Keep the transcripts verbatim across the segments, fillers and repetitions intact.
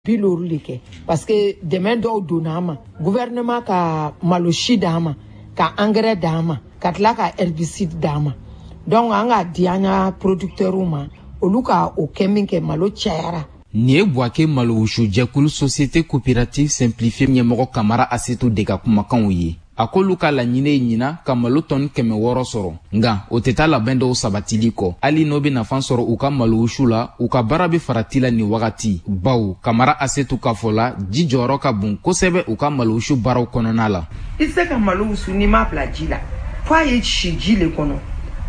Bi loolu de kɛ, parce que dɛmɛ dɔw donna an ma. Gouvernement ka malo si d'an ma, ka engrais d'an ma, ka tila ka herbicide d'an ma. Donc an k'a di an ka producteurs ma, olu ka o kɛ min kɛ, malo cayara. Nin ye Buwake malowusujɛkulu Société coopérative simplifiée ɲɛmɔgɔ Kamara Asetu de ka kumakanw ye. A k'olu ka laɲini ye ɲina ka malo tɔni kɛmɛ wɔɔrɔ sɔrɔ, nka o tɛ taa labɛn dɔw sabatili kɔ. Hali n'o bɛ nafa sɔrɔ u ka malowusu la, u ka baara bɛ farati la nin wagati, bawo Kamara Asetu ka fɔ la, ji jɔyɔrɔ ka bon kosɛbɛ u ka malowusu baaraw kɔnɔna la. I tɛ se ka malo wusu n'i m'a bila ji la, f'a ye si ji le kɔnɔ.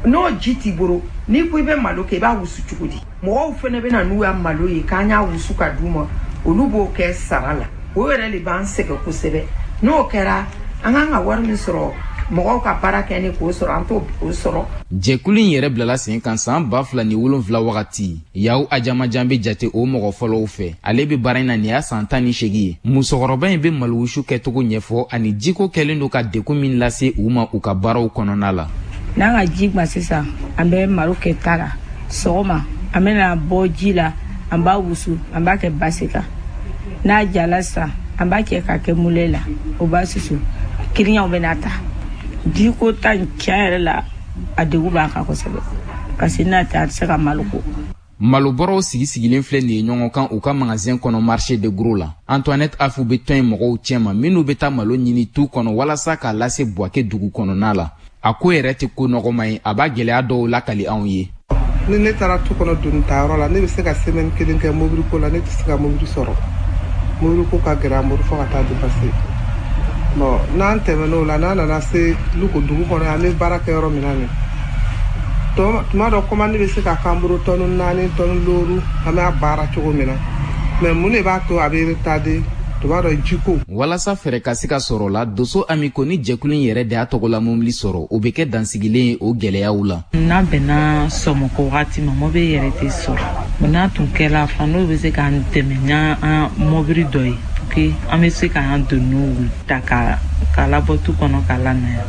N'o ji t'i bolo, n'i ko i bɛ malo kɛ, i b'a wusu cogo di? Mɔgɔw fɛnɛ bɛ na n'u ya malo ye k'an y'a wusu ka d'u ma, olu b'o kɛ sara la. O yɛrɛ de b'an sɛgɛn kosɛbɛ. N'o kɛra, an kan ka wari min sɔrɔ mɔgɔw ka baara kɛ ni k'o sɔrɔ, an t'o sɔrɔ. Jɛkulu in yɛrɛ bilala sen kan san ba fila ni wolonfila wagati. Yaw Ajamajan bɛ jate o mɔgɔ fɔlɔw fɛ. Ale bɛ baara in na nin y'a san tan ni seegin ye. Musokɔrɔba in bɛ malowusu kɛcogo ɲɛfɔ ani jiko kɛlen don ka degun min lase u ma u ka baaraw kɔnɔna la. N'an ka ji gwan sisan, an bɛ malo kɛ ta la. Sɔgɔma, an bɛna bɔ ji la, an b'a wusu, an b'a kɛ basi kan. N'a jala sisan, an b'a kɛ ka kɛ moulin la, o b'a susu. Kiriɲaw bɛna ta. Jiko ta in, tiɲɛ yɛrɛ la, a degun b'an kan kosɛbɛ, parce que n'a tɛ, a tɛ se ka malo ko. Malobɔrɔw sigi sigilen filɛ nin ye ɲɔgɔn kan u ka magasin kɔnɔ marché de gros la. Antoinette Afu bɛ tɔn in mɔgɔw cɛma minnu bɛ taa malo ɲini tu kɔnɔ walasa k'a lase Buwake dugu kɔnɔna la. A ko yɛrɛ tɛ ko nɔgɔma ye, a b'a gɛlɛya dɔw lakali anw ye. Ni ne taara tu kɔnɔ doni tayɔrɔ la, ne bɛ se ka semaine kelen kɛ mobili ko la, ne tɛ se ka mobili sɔrɔ. Mobili ko ka gɛlɛn an bolo fo ka taa dépasser. Bon, n'an tɛmɛn'o la, n'an nana se Luko dugu kɔnɔ, an bɛ baara kɛ yɔrɔ min na nin, tuma dɔ commande bɛ se ka k'an bolo tɔni naani, tɔni loru, an b'a baara cogo min na. Mais mun de b'a to a bɛ retarder? Tuma dɔ, jiko. Walasa fɛɛrɛ ka se ka sɔrɔ la, Doso Amiko ni jɛkulu in yɛrɛ de y'a tɔgɔla mobili sɔrɔ, o bɛ kɛ dansigilen ye o gɛlɛyaw la. N'a bɛnna sɔmɔkɔ wagati ma, mobili yɛrɛ tɛ sɔrɔ. N'a tun kɛla fan, n'o bɛ se k'an dɛmɛ n'an mobili dɔ ye, que an bɛ se k'an doniw ta ka k'a labɔ tu kɔnɔ k'a lana yan,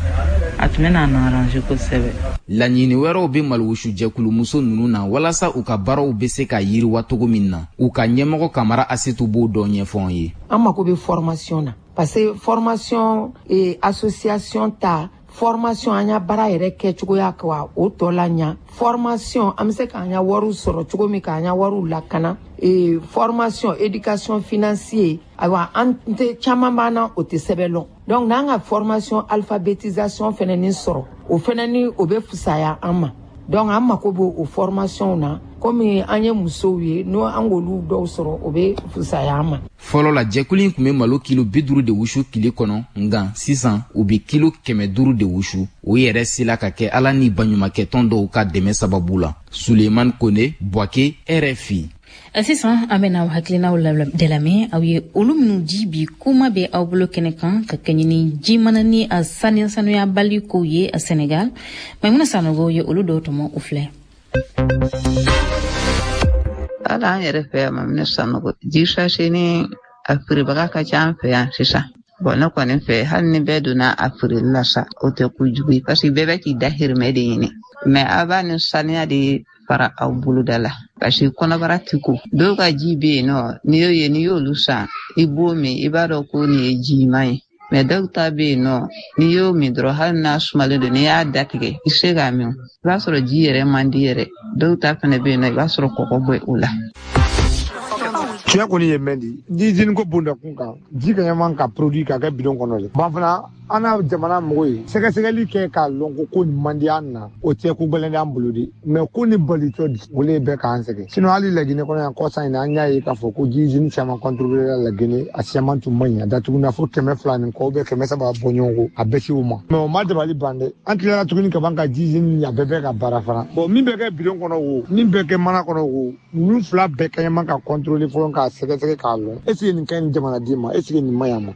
a tun bɛ n'an arranger kosɛbɛ. Laɲini wɛrɛw bɛ malowusu jɛkulumuso ninnu na walasa u ka baaraw bɛ se ka yiriwa cogo min na. U ka ɲɛmɔgɔ Kamara Asetu b'o dɔ ɲɛfɔ an ye. An mako bɛ formation na, parce que formation et association ta formation, an ya baara yɛrɛ kɛcogoya ka o tɔ la ɲa. Formation, an bɛ se k'an ya wariw sɔrɔ cogo min, k'an ya wariw lakana. Et formation éducation financière, ayiwa, an tɛ caman b'an na, o tɛ sɛbɛn lɔn. Donc n'an ka formation alphabétisation fɛnɛ ni sɔrɔ, o fɛnɛ ni o bɛ fisaya an ma. Donc an mako b'o o formation na, komi an ye musow ye, n'o an k'olu dɔw sɔrɔ, o bɛ fisaya an ma. Fɔlɔ la, jɛkulu in tun bɛ malo kilo bi duuru de wusu tile kɔnɔ, nka sisan u bɛ kilo kɛmɛ duuru de wusu. O yɛrɛ sela ka kɛ Ala ni baɲumankɛtɔn dɔw ka dɛmɛ sababu la. Suleiman Kone, Buwake, R F I. Sisan, an bɛna aw hakilinaw de lamɛn, aw ye olu minnu di bi kuma bɛ aw bolo kɛnɛ kan, ka kɛɲɛ ni ji mana ni a saniya sanuyabali kow ye a Senegal. Maimuna Sanogo ye olu dɔw tɔmɔ, o filɛ. Hali an yɛrɛ fɛ yan, Maminɛ Sanogo, ji sachet ni a feerebaga ka ca an fɛ yan sisan. Bon, ne kɔni fɛ, hali ni bɛɛ donna a feereli la sa, o tɛ kojugu ye, parce que bɛɛ bɛ k'i dahirimɛ de ɲini. Mais a b'a ni saniya de fara aw boloda la, parce que kɔnɔbara ti ko. Dɔw ka ji bɛ yen nɔ, n'i y'o ye, n'i y'olu san, i b'o min, i b'a dɔn ko nin ye jiman ye. Mais dɔw ta bɛ yen nɔ, n'i y'o min dɔrɔn, hali n'a sumalen don, n'i y'a datigɛ, i se k'a min, i b'a sɔrɔ ji yɛrɛ man di yɛrɛ. Dɔw ta fana bɛ yen nɔ, i b'a sɔrɔ kɔgɔ bɔ o la. Tiɲɛ kɔni ye mɛn di ni usine ko bonda kun kan, ji ka ɲaman ka produit ka kɛ bidon kɔnɔ de ban fana. An n'a jamana mɔgɔ ye sɛgɛsɛgɛli kɛ k'a lɔn ko ko nin man di an na, o tɛ ko gɛlɛn d'an bolo de. Mais ko ni balitɔ di, o le bɛ k'an sɛgɛn. Sinon hali Laginɛ kɔnɔ yan, kɔsa in na, an y'a ye k'a fɔ ko ji usine caman contrôlé la Laginɛ, a caman tun man ɲi, a datuguna fo kɛmɛ fila ni kɔ bɛ kɛmɛ saba bɔ ɲɔgɔn kɔ, a bɛɛ se o ma. Mais o ma dabali ban dɛ, an tilara tuguni ka ban ka ji usine a bɛɛ bɛ ka baara fana. Bon, min bɛ kɛ bidon kɔnɔ o, min bɛ kɛ mana kɔnɔ o, ninnu fila bɛɛ ka ɲaman ka contrôler fɔlɔ, k'a sɛgɛsɛgɛ k'a lɔn est ce que nin ka ɲi jamanaden ma, est ce que nin man ɲi a ma.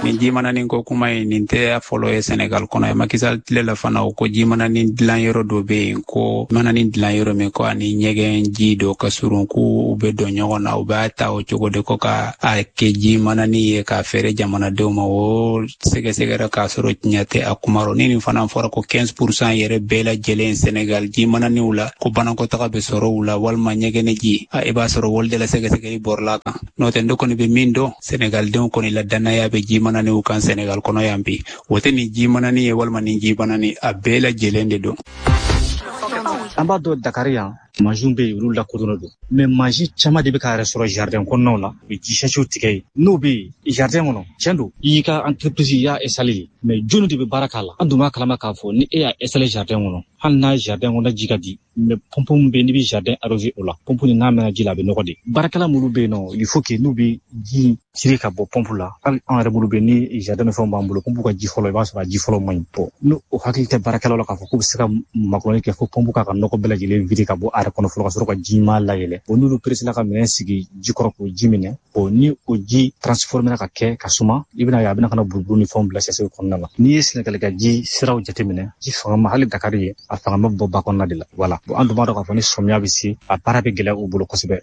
Nin jimananin ko kuma in, nin tɛ fɔlɔ ye Senegal kɔnɔ ye. Macky Sall tile la fana, o ko jimananin dilan yɔrɔ dɔ bɛ yen, ko mananin dilan yɔrɔ min, ko ani ɲɛgɛn ji dɔ ka surun, k'u bɛ don ɲɔgɔn na, u b'a ta o cogo de ko ka a kɛ jimananin ye k'a feere jamanadenw ma. O sɛgɛsɛgɛra k'a sɔrɔ tiɲɛ tɛ a kuma rɔ. Ni nin fana fɔra ko quinze pour cent yɛrɛ bɛɛ lajɛlen Senegal jimananiw la, ko banakɔtaga bɛ sɔrɔ u la walima ɲɛgɛnɛ ji, i b'a sɔrɔ wali de la sɛgɛsɛgɛli bɔrɔla kan. N'o tɛ, ne kɔni bɛ min dɔn, Senegaldenw kɔni la danaya bɛ jimananiw kan Senegal kɔnɔ yan bi. O tɛ nin jimanani ye walima nin jimanani, a bɛɛ lajɛlen de don. An b'a dɔn Dakar yan, mansinw bɛ yen, olu lakodɔnnen don, mais mansin caman de bɛ ka yɛrɛ sɔrɔ jardin kɔnɔnaw la, u bɛ ji sasiw tigɛ yen. N'o bɛ yen jardin kɔnɔ, tiɲɛ don, i y'i ka entreprise, i y'a installé, mais jɔnni de bɛ baara k'a la? An dun b'a kalama k'a fɔ ni e y'a installé jardin kɔnɔ, hali n'a jardin kɔnɔ ji ka di, mais pompe min bɛ yen n'i bɛ jardin arrosé o la, pompe nin n'a mɛnna ji la, a bɛ nɔgɔ de. Baarakɛla minnu bɛ yen nɔ, il faut que n'u bɛ ji tirer ka bɔ pompe la, hali an yɛrɛ minnu bɛ yen ni jardin ni fɛnw b'an bolo, pompe ka ji fɔlɔ, i b'a sɔrɔ a ji fɔlɔ man ɲi. Bon, n'o o hakili tɛ baarakɛlaw la k'a fɔ k'u bɛ se ka makɔnɔni kɛ fo pompe k'a ka nɔgɔ bɛɛ lajɛlen vider ka bɔ a yɛrɛ kɔnɔ fɔlɔ ka sɔrɔ ka ji ɲuman layɛlɛ. Bon, n'olu pressé la ka minɛn sigi ji kɔrɔ k'o ji minɛ, bon, ni o ji transformé ka kɛ ka suma, i bɛna ye a bɛna ka na buruburu ni fɛnw bila sɛsɛw kɔnɔna la. N'i ye Sɛnɛgali ka ji siraw jateminɛ, ji fanga ma, hali Dakar ye, a fanga ma bɔ ba kɔnɔna de la. Voilà, bon, an dun b'a dɔn k'a fɔ ni sɔmiya bɛ se, a baara bɛ gɛlɛya u bolo kosɛbɛ.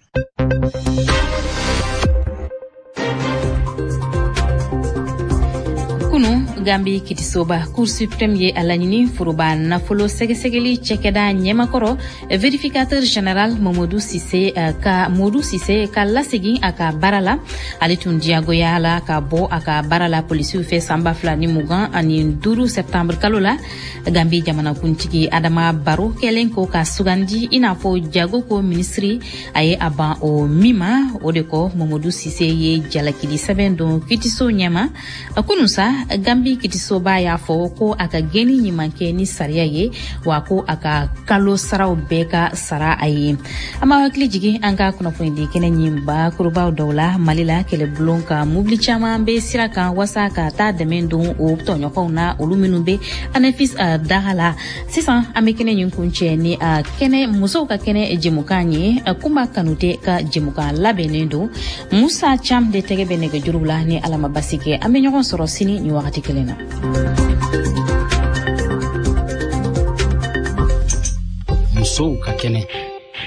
Kunu, Gambi kitisoba Cour suprême ye a laɲini foroba nafolo sɛgɛsɛgɛli cɛkɛda ɲɛmakɔrɔ vérificateur général Mamadou Cissé ka Modou Cissé ka lasegin a ka baara la. Ale tun diyagoya la ka bɔ a ka baara la polisiw fɛ san ba fila ni mugan ani duuru septembre kalo la. Gambi jamanakuntigi Adama Barrow kɛlen ko ka sugandi i n'a fɔ jago ko minisiri, a ye a ban o min ma. O de kɔ, Mamadou Cissé ye jalakili sɛbɛn don kitiso ɲɛma. Kunu sa, Gambi kitisoba y'a fɔ ko a ka gɛnni ɲuman kɛ ni sariya ye, wa ko a ka kalo saraw bɛɛ ka sara a ye. An b'a hakili jigin an ka kunnafonidi kɛnɛ ɲin bakurubaw dɔw la. Mali la, kɛlɛbulon ka mobili caman bɛ sira kan wasa ka taa dɛmɛ don o tɔɲɔgɔnw na, olu minnu bɛ Anefis daga la. Sisan an bɛ kɛnɛ ɲin kuncɛ ni a kɛnɛ musow ka kɛnɛ jɛmukan ye. Kunba Kanute ka jɛmukan labɛnnen don. Musa Cham de tɛgɛ bɛ nɛgɛjuru la. Ni Ala ma basi kɛ, an bɛ ɲɔgɔn sɔrɔ sini ni wagati kelen na. Musow ka kɛnɛ.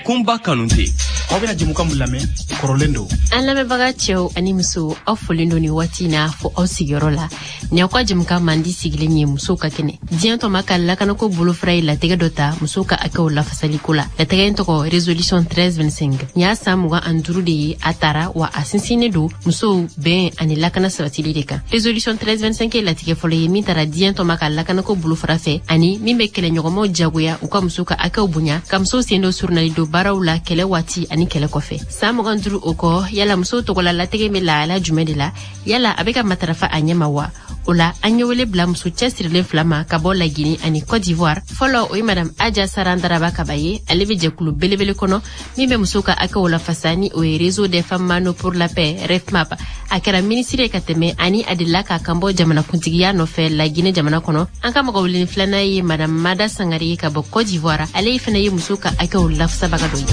Kunba Kanute. Aw bɛna jɛmukan min lamɛn, kɔrɔlen don. An lamɛnbaga cɛw ani musow, aw folen don nin waati na fo aw sigiyɔrɔ la. Nin y'aw ka jɛmukan mandi sigilen ye, musow ka kɛnɛ. Diɲɛ tɔma ka lakanako bolofara ye latigɛ dɔ ta musow ka hakɛw lafasaliko la. Latigɛ in tɔgɔ résolution treize vingt-cinq. Nin y'a san mugan ani duuru de ye a tara, wa a sinsinnen don musow bɛn ani lakana sabatili de kan. Résolution treize vingt-cinq ye latigɛ fɔlɔ ye min tara diɲɛ tɔma ka lakanako bolofara fɛ, ani min bɛ kɛlɛɲɔgɔnmaw jagoya u ka musow ka hakɛw bonya, ka musow sen don surunali don baaraw la kɛlɛ waati ani kɛlɛ kɔfɛ. San mugan duuru o kɔ, yala musow tɔgɔla latigɛ bɛ lahala jumɛn de la? Yala a bɛ ka matarafa a ɲɛ ma wa? O la, an ye wele bila muso cɛsirilen fila ma ka bɔ Lagine ani Côte d'Ivoire. Fɔlɔ, o ye madame Aja Sarandaraba Kaba ye. Ale bɛ jɛkulu belebele kɔnɔ min bɛ musow ka hakɛw lafasa, ni o ye Réseau des femmes Mano pour la paix, REFMAP. A kɛra minisiri ye ka tɛmɛ, ani a delila k'a kan bɔ jamanakuntigiya nɔfɛ Lagine jamana kɔnɔ. An ka mɔgɔ weleni filanan ye madame Mada Sangare ye ka bɔ Côte d'Ivoire. Ale fana ye musow ka hakɛw lafasabaga dɔ ye.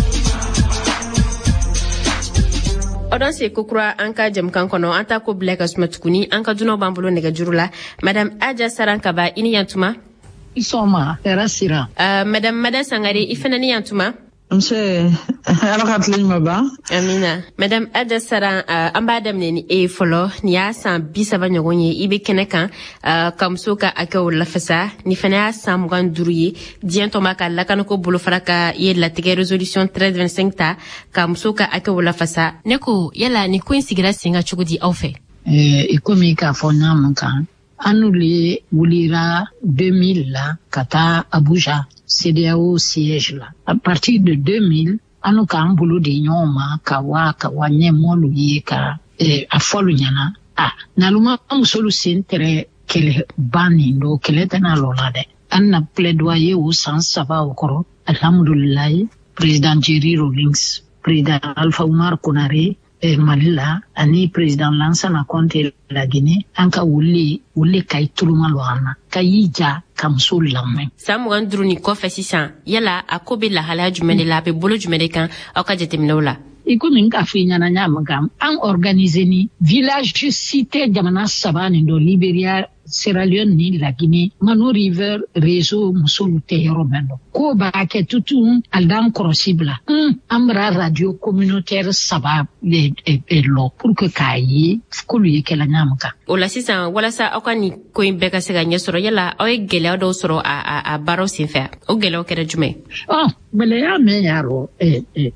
O don se kokura an ka jɛmukan kɔnɔ, an ta ko bila ka suma tuguni. An ka dunanw b'an bolo nɛgɛjuru la. Madame Aja Saran Kaba, i ni yantuma. I sɔgɔma, hɛrɛ sira. Uh, Madame Mada Sangare, i fana ni yantuma. Nse, Ala ka tile ɲuman ban. Amina. Madame Aja Saran, uh, an b'a daminɛ ni e ye fɔlɔ. Nin y'a san bi saba ɲɔgɔn ye i bɛ kɛnɛ kan, uh, ka musow ka hakɛw lafasa. Nin fana y'a san mugan duuru ye diɲɛ tɔnba ka lakanako bolofara ka ye latigɛ résolution treize vingt-cinq ta ka musow ka hakɛw lafasa. Ne ko, yala nin ko in sigira sen kan cogo di aw fɛ? Eh, i komi k'a fɔ ɲa mun kan, an n'u le wulira deux mille la ka taa Abuja CEDEAO siège la. À partir de deux mille, an n'u k'an bolo di ɲɔgɔn ma ka wa ka wa ɲɛmɔlu ye ka eh, a fɔlu ɲɛna. A n'alu ma musolu sen tɛrɛ kɛlɛ ba nin don, kɛlɛ tɛna lɔ la dɛ. An na plaidoyer o san saba o kɔrɔ. Alhamdulilayi, président Jerry Rawlings, président Alpha Oumar Konaré eh, Mali la, ani président Lansana Conté la Guinée, an ka wuli wuli ka i tuluma lɔ an na, ka y'i ja ka muso lamɛn. San mugan duuru nin kɔfɛ sisan, yala a ko bɛ lahalaya jumɛn de la, a bɛ bolo jumɛn de kan aw ka jateminɛw la? I komi n k'a fɔ i ɲɛna ɲa min kan, an organiser ni village cité jamana saba nin dɔ, Liberia, Sierra Leone ni La Guinée, Mano River réseau musolu tɛ yɔrɔ mɛn dɔ. Ko b'a kɛ tutun ali d'an kɔrɔsi bila. Un, an bara radio communautaire saba le lɔ pour que k'a ye k'olu ye kɛla ɲa min kan. O la sisan, walasa aw ka nin ko in bɛɛ ka se ka ɲɛ sɔrɔ, yala aw ye gɛlɛya dɔw sɔrɔ a a, a baaraw senfɛ? O gɛlɛyaw kɛra jumɛn? Ɔ, gɛlɛya min y'a rɔ,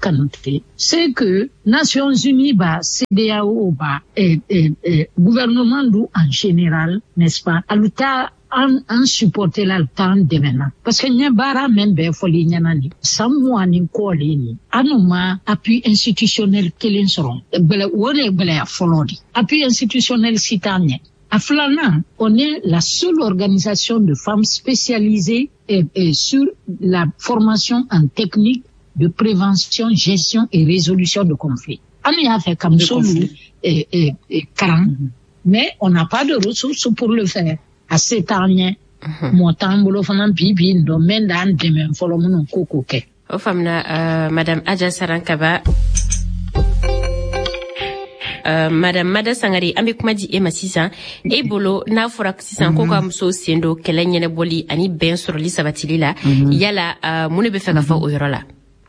Kanute, c'est que Nations Unies ba, CEDEAO ba, eh, eh, eh, gouvernement du en général, n'est-ce pas, alu ta an an supporter la, t'an dɛmɛ na, parce que n ye baara min bɛɛ fɔli ɲɛna nin san mugan ni kɔ le nin, an ma appui institutionnel kelen sɔrɔ. Gbɛlɛ o de ye gbɛlɛya fɔlɔ de, appui institutionnel si t'an ɲɛ. A filanan, on est la seule organisation de femmes spécialisée et, et sur la formation en technique de prévention, gestion et résolution de conflits. An y'a fɛ ka musolu karan, mais on n'a pas de ressources pour le faire. A se t'an ɲɛ, mɔ t'an bolo fana bi bi in dɔn mɛn d'an dɛmɛ fɔlɔ minnu ko k'o kɛ. O faamuna, uh, madame Adja Sarankaba. Uh, madame Mada Sangare, an bɛ kuma di e ma sisan. E bolo, n'a fɔra sisan ko ka musow sen don kɛlɛ ɲɛnabɔli ani bɛn sɔrɔli sabatili la, yala uh, mun de bɛ fɛ ka fɔ o yɔrɔ la?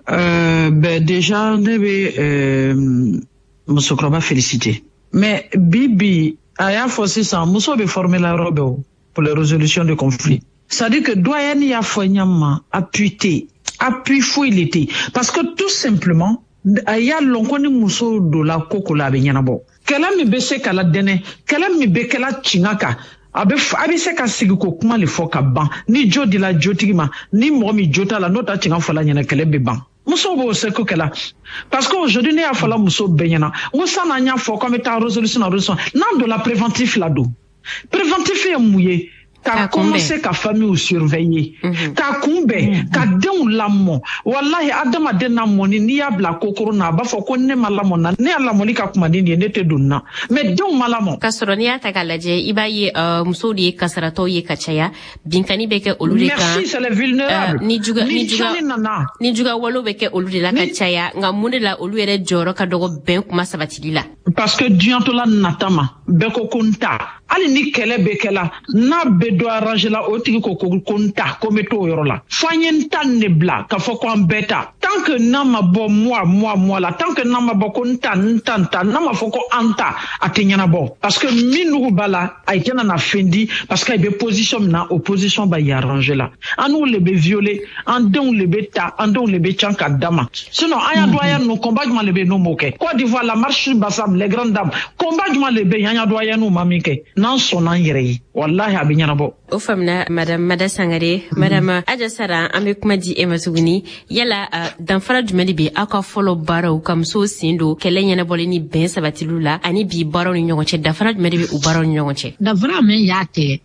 Euh, ben déjà ne bɛ euh, musokɔrɔba féliciter, mais bi bi a y'a fɔ sisan muso bɛ former la yɔrɔ bɛɛ o pour les résolutions de conflits, c'est-à-dire que doyen y'a fɔ ɲɛ ma, appui tɛ, appui foyi le tɛ, parce que tout simplement a y'a lɔn ko ni muso donna ko ko la, a bɛ ɲɛnabɔ. Kɛlɛ min bɛ se ka ladɛnɛ, kɛlɛ min bɛ kɛla tiɲɛ kan, a bɛ a bɛ se ka sigi ko kuma le fɔ ka ban. Ni jo dila jotigi ma, ni mɔgɔ min jo t'a la, n'o ta tiɲɛ fɔla ɲɛna, kɛlɛ bɛ ban. Musow b'o se ko kɛla, parce que aujourd'hui ne y'a fɔla muso bɛɛ ɲɛna n ko sanni an y'a fɔ k'an bɛ taa résolution na, résolution n'an donna préventif la don. Préventif ye mun ye? Ka commencer ka famille surveiller, ka kunbɛn, ka denw lamɔ. Walahi, adamaden lamɔni, n'i y'a bila kokoro na, a b'a fɔ ko ne ma lamɔ na, ne y'a lamɔli ka kuma ni nin ye, ne tɛ don na, mais denw ma lamɔ. K'a sɔrɔ n'i y'a ta k'a lajɛ, i b'a ye musow de ye kasaratɔw ye ka caya, binkani bɛ kɛ olu de kan. Merci, c'est les vulnérables. Ni juga ni juga nana, ni juga walew bɛ kɛ olu de la ka caya, nka mun de la olu yɛrɛ jɔyɔrɔ ka dɔgɔ bɛn kuma sabatili la? Parce que diɲɛtɔla nata ma bɛɛ ko ko n ta, hali ni kɛlɛ bɛ kɛla, n'a bɛ dɔ arranger la, o tigi ko ko ko n ta, ko n bɛ t'o yɔrɔ la. Fo an ye n ta nin de bila k'a fɔ ko an bɛɛ ta. Tant que n'a ma bɔ moi moi moi la, tant que n'a ma bɔ ko n ta n ta n ta, n'a ma fɔ ko an ta, a tɛ ɲɛnabɔ, parce que min nugu b'a la, a tɛna na fɛn di, parce que a bɛ position min na, o position b'a arranger la. An n'u le bɛ violer, an denw le bɛ ta, an denw le bɛ can ka da ma. Sinon an y'a doyen ninnu, combat jumɛn de bɛ yen n'o m'o kɛ? Côte d'Ivoire, la marche Bassam, les grandes dames, combat jumɛn de bɛ yen an y'a doyen n'u ma min kɛ? N'an sɔnna an yɛrɛ ye, walahi a bɛ ɲɛnabɔ. O faamuna, madame Mada Sangare. Madame Adja Sara, an bɛ kuma di e ma tuguni. Yala uh, danfara jumɛn de bɛ aw ka fɔlɔ baaraw ka musow sen don kɛlɛ ɲɛnabɔli ni bɛn sabatiliw la ani bi baaraw ni ɲɔgɔn cɛ? Danfara jumɛn de bɛ u baaraw ni ɲɔgɔn cɛ? Danfara min y'a kɛ,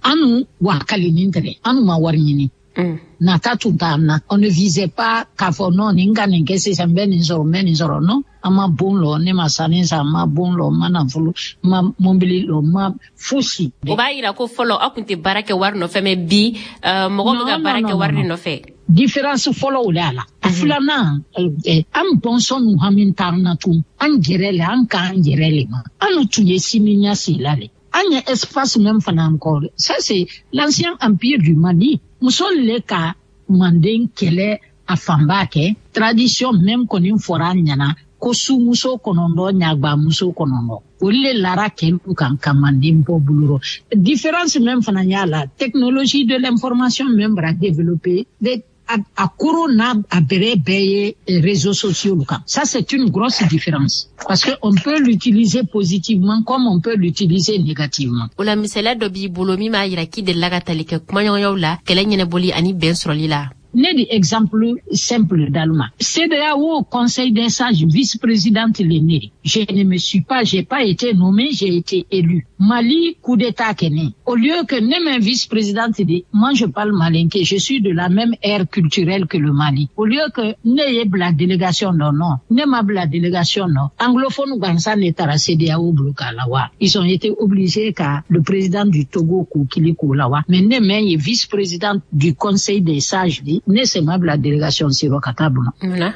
anu wakalinin tɛ, anu ma wari ɲini. Mm. Nata tun t'an na. On ne visait pas k'a fɔ non, nin ka nin kɛ sisan, n bɛ nin sɔrɔ, n bɛ nin sɔrɔ. Non, an ma bon lɔ, ne ma sanni san, n ma bon lɔ, n ma nafolo, n ma mobili lɔ, n ma fosi. O b'a yira ko fɔlɔ aw tun tɛ baara kɛ wari nɔfɛ, mais bi mɔgɔ bɛ ka baara kɛ wari de nɔfɛ. Différence fɔlɔ o de y'a la. A filanan, an bɔnsɔn nu hami t'an na tun, an yɛrɛ le, an k'an yɛrɛ le ma. An tun ye sini ɲɛsigi la le. An ye espace même fana encore. Ça c'est l'ancien empire du Mali. Muso le ka manden kɛlɛ a fanba kɛ. Tradition même kɔni fɔra an ɲɛna ko sumuso kɔnɔntɔn, ɲagbamuso kɔnɔntɔn, olu le lara kɛlu kan ka manden bɔ bolo rɔ. Différence même fana y'a la, technologie de l'information même bara développer de a, a koro n'a a bɛrɛ bɛɛ ye réseaux sociaux kan. Ça c'est une grosse différence, parce que on peut l'utiliser positivement comme on peut l'utiliser négativement. O la, misaliya dɔ b'i bolo min b'a yira k'i delila ka tali kɛ kumaɲɔgɔnyaw la kɛlɛ ɲɛnabɔli ani bɛn sɔrɔli la? Ne di exemple simple d'Allemagne. CEDEAO Conseil des sages, vice-présidente l'aîné. Je ne me suis pas, j'ai pas été nommée, j'ai été élue. Mali, coup d'état kɛnɛ. Au lieu que ne ma vice-présidente dit, moi je parle malinké, je suis de la même ère culturelle que le Mali. Au lieu que ne ye la délégation, non, non. Ne ma la délégation, non. Anglophone gansan ne taara CEDEAO bloqué la wa. Ils ont été obligés qu'à le président du Togo k'o kili k'o la wa. Mais ne ma ye vice-présidente du Conseil des sages dit, Ne sen ma bila délégation si rɔ ka taa bolo.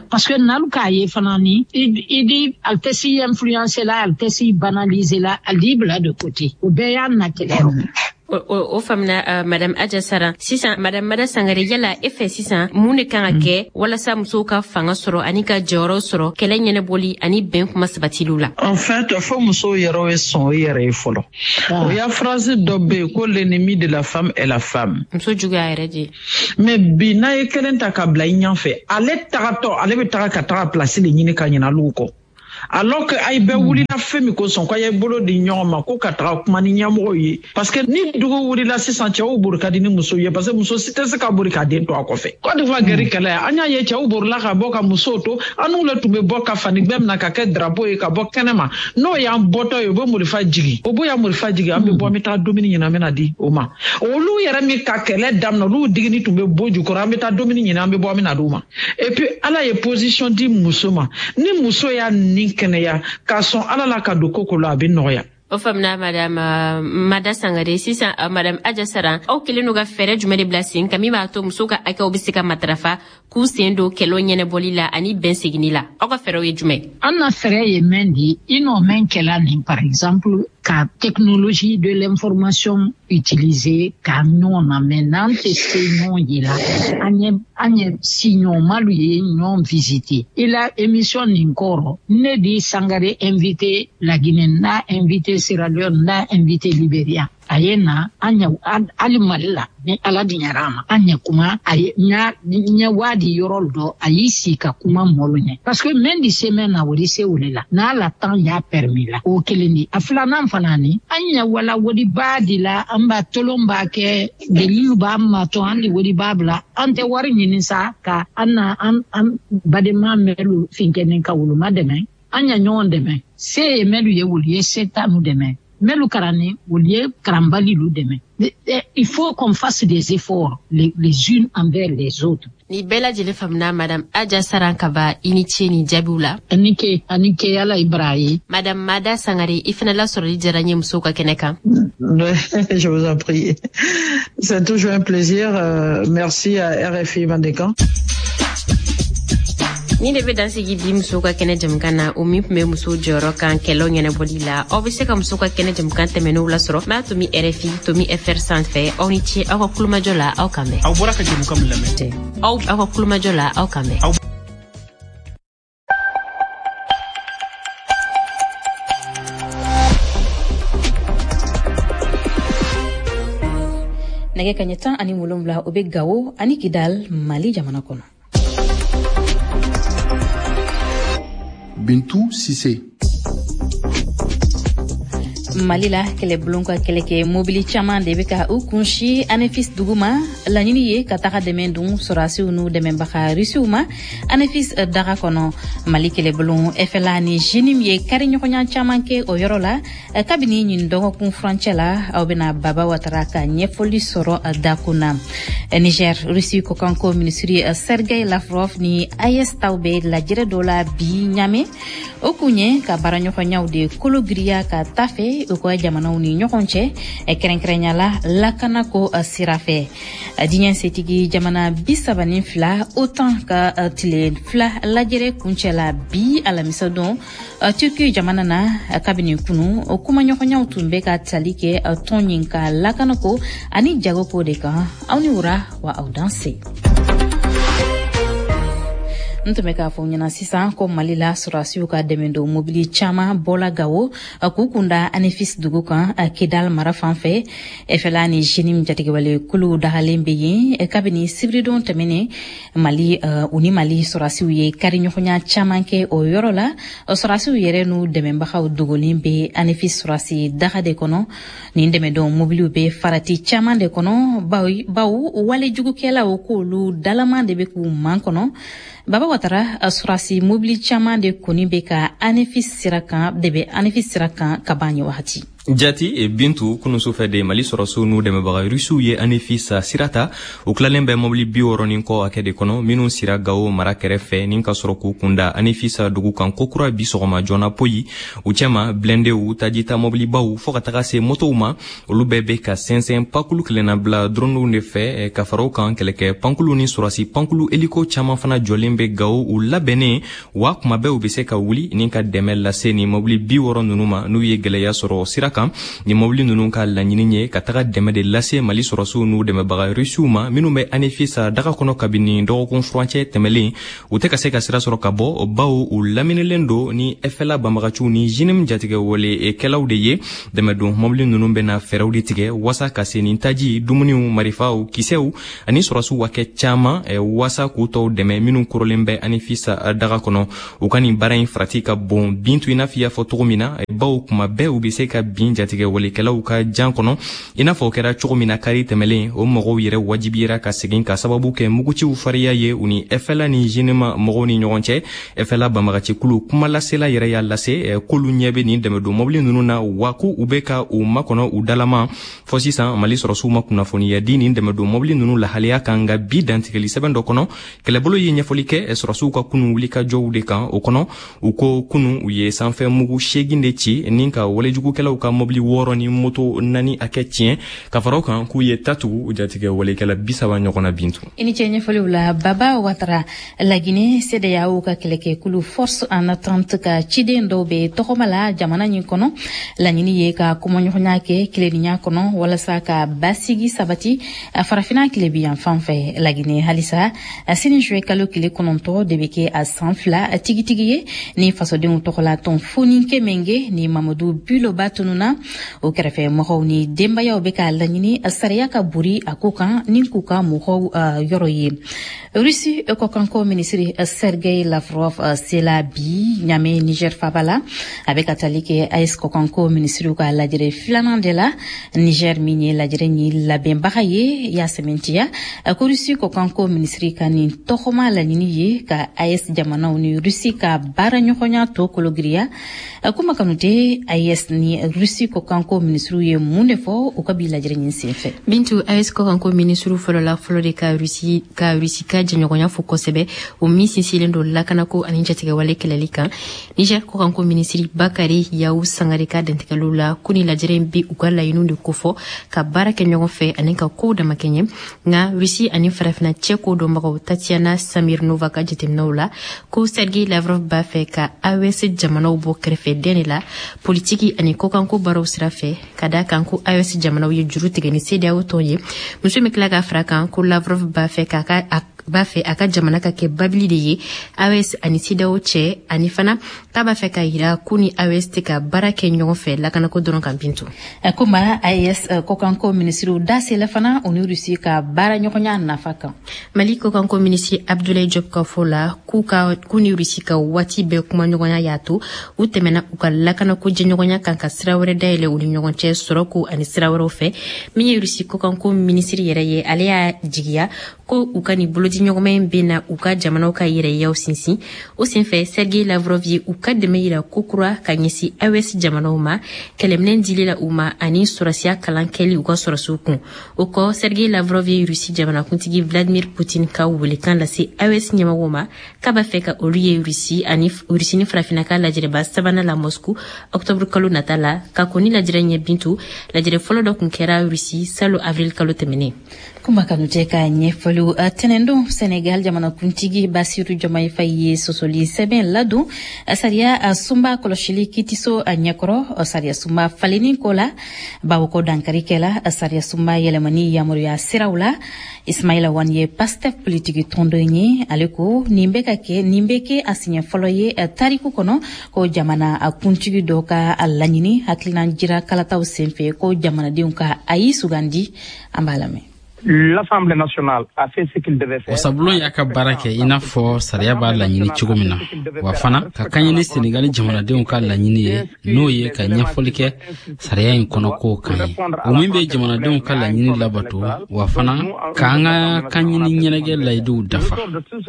Parce que n'alu k'a ye fana ni i di ale tɛ si influencer la, ale tɛ si banaliser la, ale di bila de côté. O bɛɛ y'a na kɛlɛ rɔ. O faamuna, Madame Adja Saran. Sisan, Madame Mada Sangare, yala e fɛ sisan mun de kan ka kɛ walasa musow ka fanga sɔrɔ ani ka jɔyɔrɔ sɔrɔ kɛlɛ ɲɛnabɔli ani bɛn kuma sabatiliw la? En fait, fo musow yɛrɛ ye sɔn o yɛrɛ ye fɔlɔ. O y'a phrase dɔ bɛ yen ko l'ennemi de la femme est la femme. Muso juguya yɛrɛ de. Mais bi n'a ye kelen ta ka bila i ɲɛfɛ, ale tagatɔ ale bɛ taga ka taga place de ɲini ka ɲinɛ olu kɔ. Alors que ay bɛɛ wulila fɛn min kosɔn k'a ye bolo di ɲɔgɔn ma ko ka taga kuma ni ɲɛmɔgɔw ye, parce que ni dugu wulila sisan cɛw bori ka di ni musow ye, parce que muso si tɛ se ka bori ka den to a kɔfɛ. Côte d'Ivoire gɛri kɛlɛ an y'a ye cɛw borila ka bɔ ka musow to, an n'u le tun bɛ bɔ ka fani gbɛ minɛ ka kɛ drapeau ye ka bɔ kɛnɛ ma. N'o y'an bɔtɔ ye, u bɛ morifa jigin, o b'o ya morifa jigin, an bɛ bɔ an bɛ taa dumuni ɲini an bɛ na di o ma. Olu yɛrɛ min ka kɛlɛ daminɛ, olu digini tun bɛ bɔ jukɔrɔ, an bɛ taa dumuni ɲini an bɛ bɔ an bɛ na d'u ma. Et puis Ala ye position di muso ma, ni muso y'a ni kɛnɛya k'a sɔn Ala la ka don ko ko la, a bɛ nɔgɔya. O faamuna, Madame Mada Sangare. Sisan, Madame Adja Saran, aw kɛlen don ka fɛɛrɛ jumɛn de bila sen kan min b'a to musow ka hakɛw bɛ se ka matarafa k'u sen don kɛlɛw ɲɛnabɔli la ani bɛn seginni la? Aw ka fɛɛrɛw ye jumɛn? An na fɛɛrɛ ye mɛn di i n'o mɛn kɛla nin, par exemple ka technologie de l'information utiliser ka ɲɔgɔn na, mais n'an tɛ se ɲɔgɔn ye la, an ye an ye siɲɔgɔnmalu ye ɲɔgɔn visiter. I la émission nin kɔrɔ, ne di Sangare invité Laginɛ, n'a invité Sierra Leone, n'a invité Libéria, a ye na an ɲɛ hali Mali la, ni Ala diɲɛra a ma, an ɲɛ kuma a ye ɲa ɲɛ waadi yɔrɔ dɔ, a y'i sigi ka kuma mɔlu ɲɛ, parce que mɛn di se mɛn na, o di se o le la n'a la temps y'a permis la. O kelen di. A filanan fana ni an ɲɛ wala wodiba di la, an b'a tolon b'a kɛ delilu b'an matɔ, an di wodiba bila, an tɛ wari ɲini sa ka an na an an badenma mɛlu finkɛnen ka woloma dɛmɛ, an ɲɛ ɲɔgɔn dɛmɛ. Se ye mɛlu ye, wolu ye se t'anu dɛmɛ, mɛlu karanni wolu ye karanbalilu dɛmɛ. Il faut qu'on fasse des efforts les, les unes envers les autres. Ni bɛɛ lajɛlen faamuna. Madame Adja Saran Kaba, i ni ce nin jaabiw la. Ani ke, ani ke, Ala i bara ye. Madame Mada Sangare, i fana lasɔrɔli diyara n ye musow ka kɛnɛ kan. Je vous en prie. C'est toujours un plaisir. Euh, merci à R F I Mandenkan. Ni de bɛ dan sigi bi musow ka kɛnɛ jamukan na, o min tun bɛ musow jɔyɔrɔ kan kɛlɛw ɲɛnabɔli la. Aw bɛ se ka musow ka kɛnɛ jamukan tɛmɛnenw lasɔrɔ m'a tomi R F I tomi F R sanfɛ. Aw ni ce aw ka kulomajɔ la, aw kan bɛn. Aw bɔra ka jamukan min lamɛn. Aw aw ka kulomajɔ la, aw kan bɛn. Nɛgɛ kaɲɛ tan ani wolonwula, o bɛ Gawo ani Kidal, Mali jamana kɔnɔ. Bintu Sise. Mali la, kɛlɛbulon ka kɛlɛkɛ mobili caman de bɛ ka u kunsi Anefis dugu ma. Laɲini ye ka taga dɛmɛ dun sɔrɔdasiw n'u dɛmɛbaga Rusiw ma Anefis daga kɔnɔ. Mali kɛlɛbulon F L A ni JNIM ye kari ɲɔgɔnya caman kɛ o yɔrɔ la kabini ɲin dɔgɔkun furancɛ la. Aw bɛna Baba Watara ka ɲɛfɔli sɔrɔ dakun na. Niger, Rusi kɔkanko minisiri Sergei Lavrov ni A E S taw bɛ lajɛrɛ dɔ la bi Ɲame. O kun ye ka baaraɲɔgɔnyaw de kolo giriya ka taa fɛ u ka jamanaw ni ɲɔgɔn cɛ, kɛrɛnkɛrɛnya la lakanako sira fɛ. Diɲɛ setigi jamana bi saba ni fila, OTAN ka tile fila lajɛrɛ kuncɛ la bi alamisa don Turki jamana na. Kabini kunu, o kumaɲɔgɔnyaw tun bɛ ka tali kɛ tɔn ɲin ka lakanako ani jagoko de kan. Aw ni wura wa, aw danse. N tun bɛ k'a fɔ ɲɛna sisan ko Mali la, sɔrɔdasiw ka dɛmɛ don mobili caman bɔla Gawo k'u kunda Anefis dugu kan, Kidal mara fan fɛ. F L A ni JNIM jatigɛwale kuluw dagalen bɛ yen kabini sibiridon tɛmɛnen. Mali u ni Mali sɔrɔdasiw ye kari ɲɔgɔnya caman kɛ o yɔrɔ la. Sɔrɔdasiw yɛrɛ n'u dɛmɛbagaw dogolen bɛ Anefis sɔrɔdasi daga de kɔnɔ. Nin dɛmɛdon mobiliw bɛ farati caman de kɔnɔ, bawo walejugukɛlaw k'olu dalaman de bɛ k'u man kɔnɔ. Baba Watara, sɔrɔdasi mobili caman de kɔni bɛ ka Anefis sira kan de bɛ Anefis sira kan ka ban nin wagati. Jati Bintu, kunun sufɛ de Mali sɔrɔsiw n'u dɛmɛbaga Rusiw ye Anefis sira ta. U tilalen bɛ mobili bi wɔɔrɔ ni kɔ hakɛ de kɔnɔ minnu sira Gawo mara kɛrɛfɛ ni ka sɔrɔ k'u kunda Anefis dugu kan kokura bi sɔgɔma joona poyi. U cɛma blindéw, tajita mobilibaw, fɔɔ ka taga se motow ma, olu bɛɛ bɛ ka sɛnsɛn pakulu kelenna bila droniw de fɛ. Ka fara o kan, kɛlɛkɛ pankulu ni sɔrɔsi pankulu hélico caman fana jɔlen bɛ Gawo, u labɛnnen wa kuma bɛɛ u bɛ se ka wuli ni ka dɛmɛ lase ni mobili bi wɔɔrɔ ninnu ma n'u ye gɛlɛya sɔrɔ sira kan. Ni mobili ninnu ka laɲini ye ka taga dɛmɛ de lase Mali sɔrɔsiw n'u dɛmɛbaga Rusiw ma minnu bɛ Anefis daga kɔnɔ kabini dɔgɔkun furancɛ tɛmɛlen. U tɛ ka se ka sira sɔrɔ ka bɔ, bawo u laminilen don ni F L A banbagaciw ni J N I M jatigɛwale kɛlaw de ye. Dɛmɛdon mobili ninnu bɛna fɛɛrɛw de tigɛ wasa ka se ni taji, dumuniw, marifaw, kisɛw ani sɔrɔsiw hakɛ caman wasa k'u tɔw dɛmɛ minnu korolen bɛ Anefis daga kɔnɔ. U ka nin baara in farati ka bon Bintu, i n'a fɔ i y'a fɔ cogo min na, bawo kuma bɛɛ u bɛ se ka bin jatigɛwalekɛlaw ka jan kɔnɔ, i n'a fɔ o kɛra cogo min na kari tɛmɛlen. O mɔgɔw yɛrɛ wajibiyera ka segin ka sababu kɛ muguciw fariya ye u ni F L A ni J N I M mɔgɔw ni ɲɔgɔn cɛ. F L A banbagacikulu kumalasela yɛrɛ y'a lase k'olu ɲɛ bɛ nin dɛmɛdon mɔbili ninnu na, wa ko u bɛ ka u makɔnɔ u dalama. Fɔ sisan, Mali sɔrɔsiw ma kunnafoniya di nin dɛmɛdon mɔbili ninnu lahalaya kan, nka bi dantigɛli sɛbɛn dɔ kɔnɔ, kɛlɛbolo ye ɲɛfɔli kɛ sɔrɔsiw ka kunun wulikajɔw de kan. O kɔnɔ, u ko kunun u ye sanfɛ mugu seegin de ci ni ka walejugukɛlaw ka mɔbili wɔɔrɔ ni moto naani hakɛ tiɲɛ. Ka fara o kan, k'u ye tatugu jatigɛ walekɛla bi saba ɲɔgɔn na. Bintu. I ni ce ɲɛfɔliw la, Baba Watara. Lagine, CEDEAO ka kɛlɛkɛkulu Force en attente ka ciden dɔw bɛ tɔgɔma la jamana ɲin kɔnɔ. Laɲini ye ka kumaɲɔgɔnya kɛ tilennenya kɔnɔ walasa ka basigi sabati Farafina tilebi yan fan fɛ. Lagine halisa, sini juillet kalo tile kɔnɔntɔ de bɛ kɛ a san fila tigitigi ye ni fasodenw tɔgɔla tɔn Foniké Menguè ni Mamadu Biloba tununa. O kɛrɛfɛ mɔgɔw ni denbayaw bɛ k'a laɲini sariya ka bori a ko kan ni k'u ka mɔgɔw yɔrɔ ye. Rusi kɔkanko minisiri Sergei Lavrov sela bi Ɲame, Niger faba la. A bɛ ka tali kɛ A E S kɔkanko minisiriw ka lajɛrɛ filanan de la. Niger min ye lajɛrɛ ni labɛnbaga ye y'a sɛmɛntiya ko Rusi kɔkanko minisiri ka nin tɔgɔma laɲini ye ka A E S jamanaw ni Rusi ka baara ɲɔgɔnya to kologiriya. Kuma Kanute, A E S ni Rusi kɔkanko minisiriw ye mun de fɔ u ka bi lajɛrɛ ɲin senfɛ? Bintu, A E S kɔkanko minisiriw fɔlɔla fɔlɔ de ka Rusi ka Rusi ka jɛɲɔgɔnya fo kosɛbɛ, o min sinsinlen don lakanako ani jatigɛwale kɛlɛli kan. Niger kɔkanko minisiri Bakari Yawu Sangare ka dantigɛliw la ko ni lajɛrɛ in bi u ka laɲiniw de kofɔ ka baara kɛ ɲɔgɔn fɛ ani ka kow damakɛɲɛ. Nka Rusi ani Farafina cɛ ko dɔnbagaw Tatiana Samirnova ka jateminɛw la ko Sergei Lavrov b'a fɛ ka A E S jamanaw bɔ kɛrɛfɛ den de la politiki ani kɔkanko baaraw sira fɛ, ka da kan ko A E S jamanaw ye juru tigɛ ni CEDEAO tɔn ye. Muso min tila ka fara kan ko Lavrov b'a fɛ k'a ka b'a fɛ a ka jamana ka kɛ babili de ye A E S ani CEDEAO cɛ, ani fana k'a b'a fɛ ka yira ko ni A E S tɛ ka baara kɛ ɲɔgɔn fɛ lakanako dɔrɔn kan. Bintu. Kuma A E S kɔkanko minisiriw da sela fana u ni Rusi ka baara ɲɔgɔnya nafa kan. Mali kɔkanko minisiri Abdoulaye Diop ka fɔ la k'u ka k'u ni Rusi ka waati bɛɛ kumaɲɔgɔnya y'a to u tɛmɛna u ka lakanako jɛɲɔgɔnya kan, ka sira wɛrɛ dayɛlɛ u ni ɲɔgɔn cɛ sɔrɔko ani sira wɛrɛw fɛ. Min ye Rusi kɔkanko minisiri yɛrɛ ye, ale y'a jigiya ko u ka nin bolodiɲɔgɔnma in bɛ na u ka jamanaw ka yɛrɛyaw sinsin. O senfɛ, Sergei Lavrov ye u ka dɛmɛ yira kokura ka ɲɛsin A E S jamanaw ma, kɛlɛminɛ dili la u ma ani sɔrɔsiya kalan kɛli u ka sɔrɔsiw kun. O kɔ, Sergei Lavrov ye Rusi jamanakuntigi Vladimir Putin ka welekan lase A E S ɲɛmɔgɔw ma k'a b'a fɛ ka olu ye Rusi ani Rusi ni Farafinna ka lajɛrɛba sabanan la Moscou octobre kalo nata la. Ka kɔn ni lajɛrɛ ɲɛ, Bintu, lajɛrɛ fɔlɔ dɔ kun kɛra Rusi salo avril kalo tɛmɛnen. Kuma Kanute ka ɲɛfɔliw. Tɛnɛndon, Senegal jamanakuntigi Basiru Jomayi Fayi ye sɔsɔli sɛbɛn ladon sariya sunba kɔlɔsili kitiso ɲɛkɔrɔ sariya sunba falenni ko la, bawo ko dankari kɛla sariya sunba yɛlɛmani yamaruya siraw la. Ismaila Wan ye Pastef politiki tɔndon ye. Ale ko nin bɛ ka kɛ nin bɛ kɛ a siɲɛ fɔlɔ ye tariku kɔnɔ ko jamana kuntigi dɔ ka laɲini hakilina jira kalataw senfɛ ko jamanadenw ka ayi sugandi. An b'a lamɛn. L'Assemblée nationale a fait ce qu'il devait faire. Wasabulon y'a ka baara kɛ i n'a fɔ sariya b'a laɲini cogo min na, wa fana ka kaɲɛ ni Senegali jamanadenw ka laɲini ye, n'o ye ka ɲɛfɔli kɛ sariya in kɔnɔ kow kan ye, o min bɛ jamanadenw ka laɲini labato, wa fana k'an ka kanɲini ɲɛnajɛ layiduw dafa.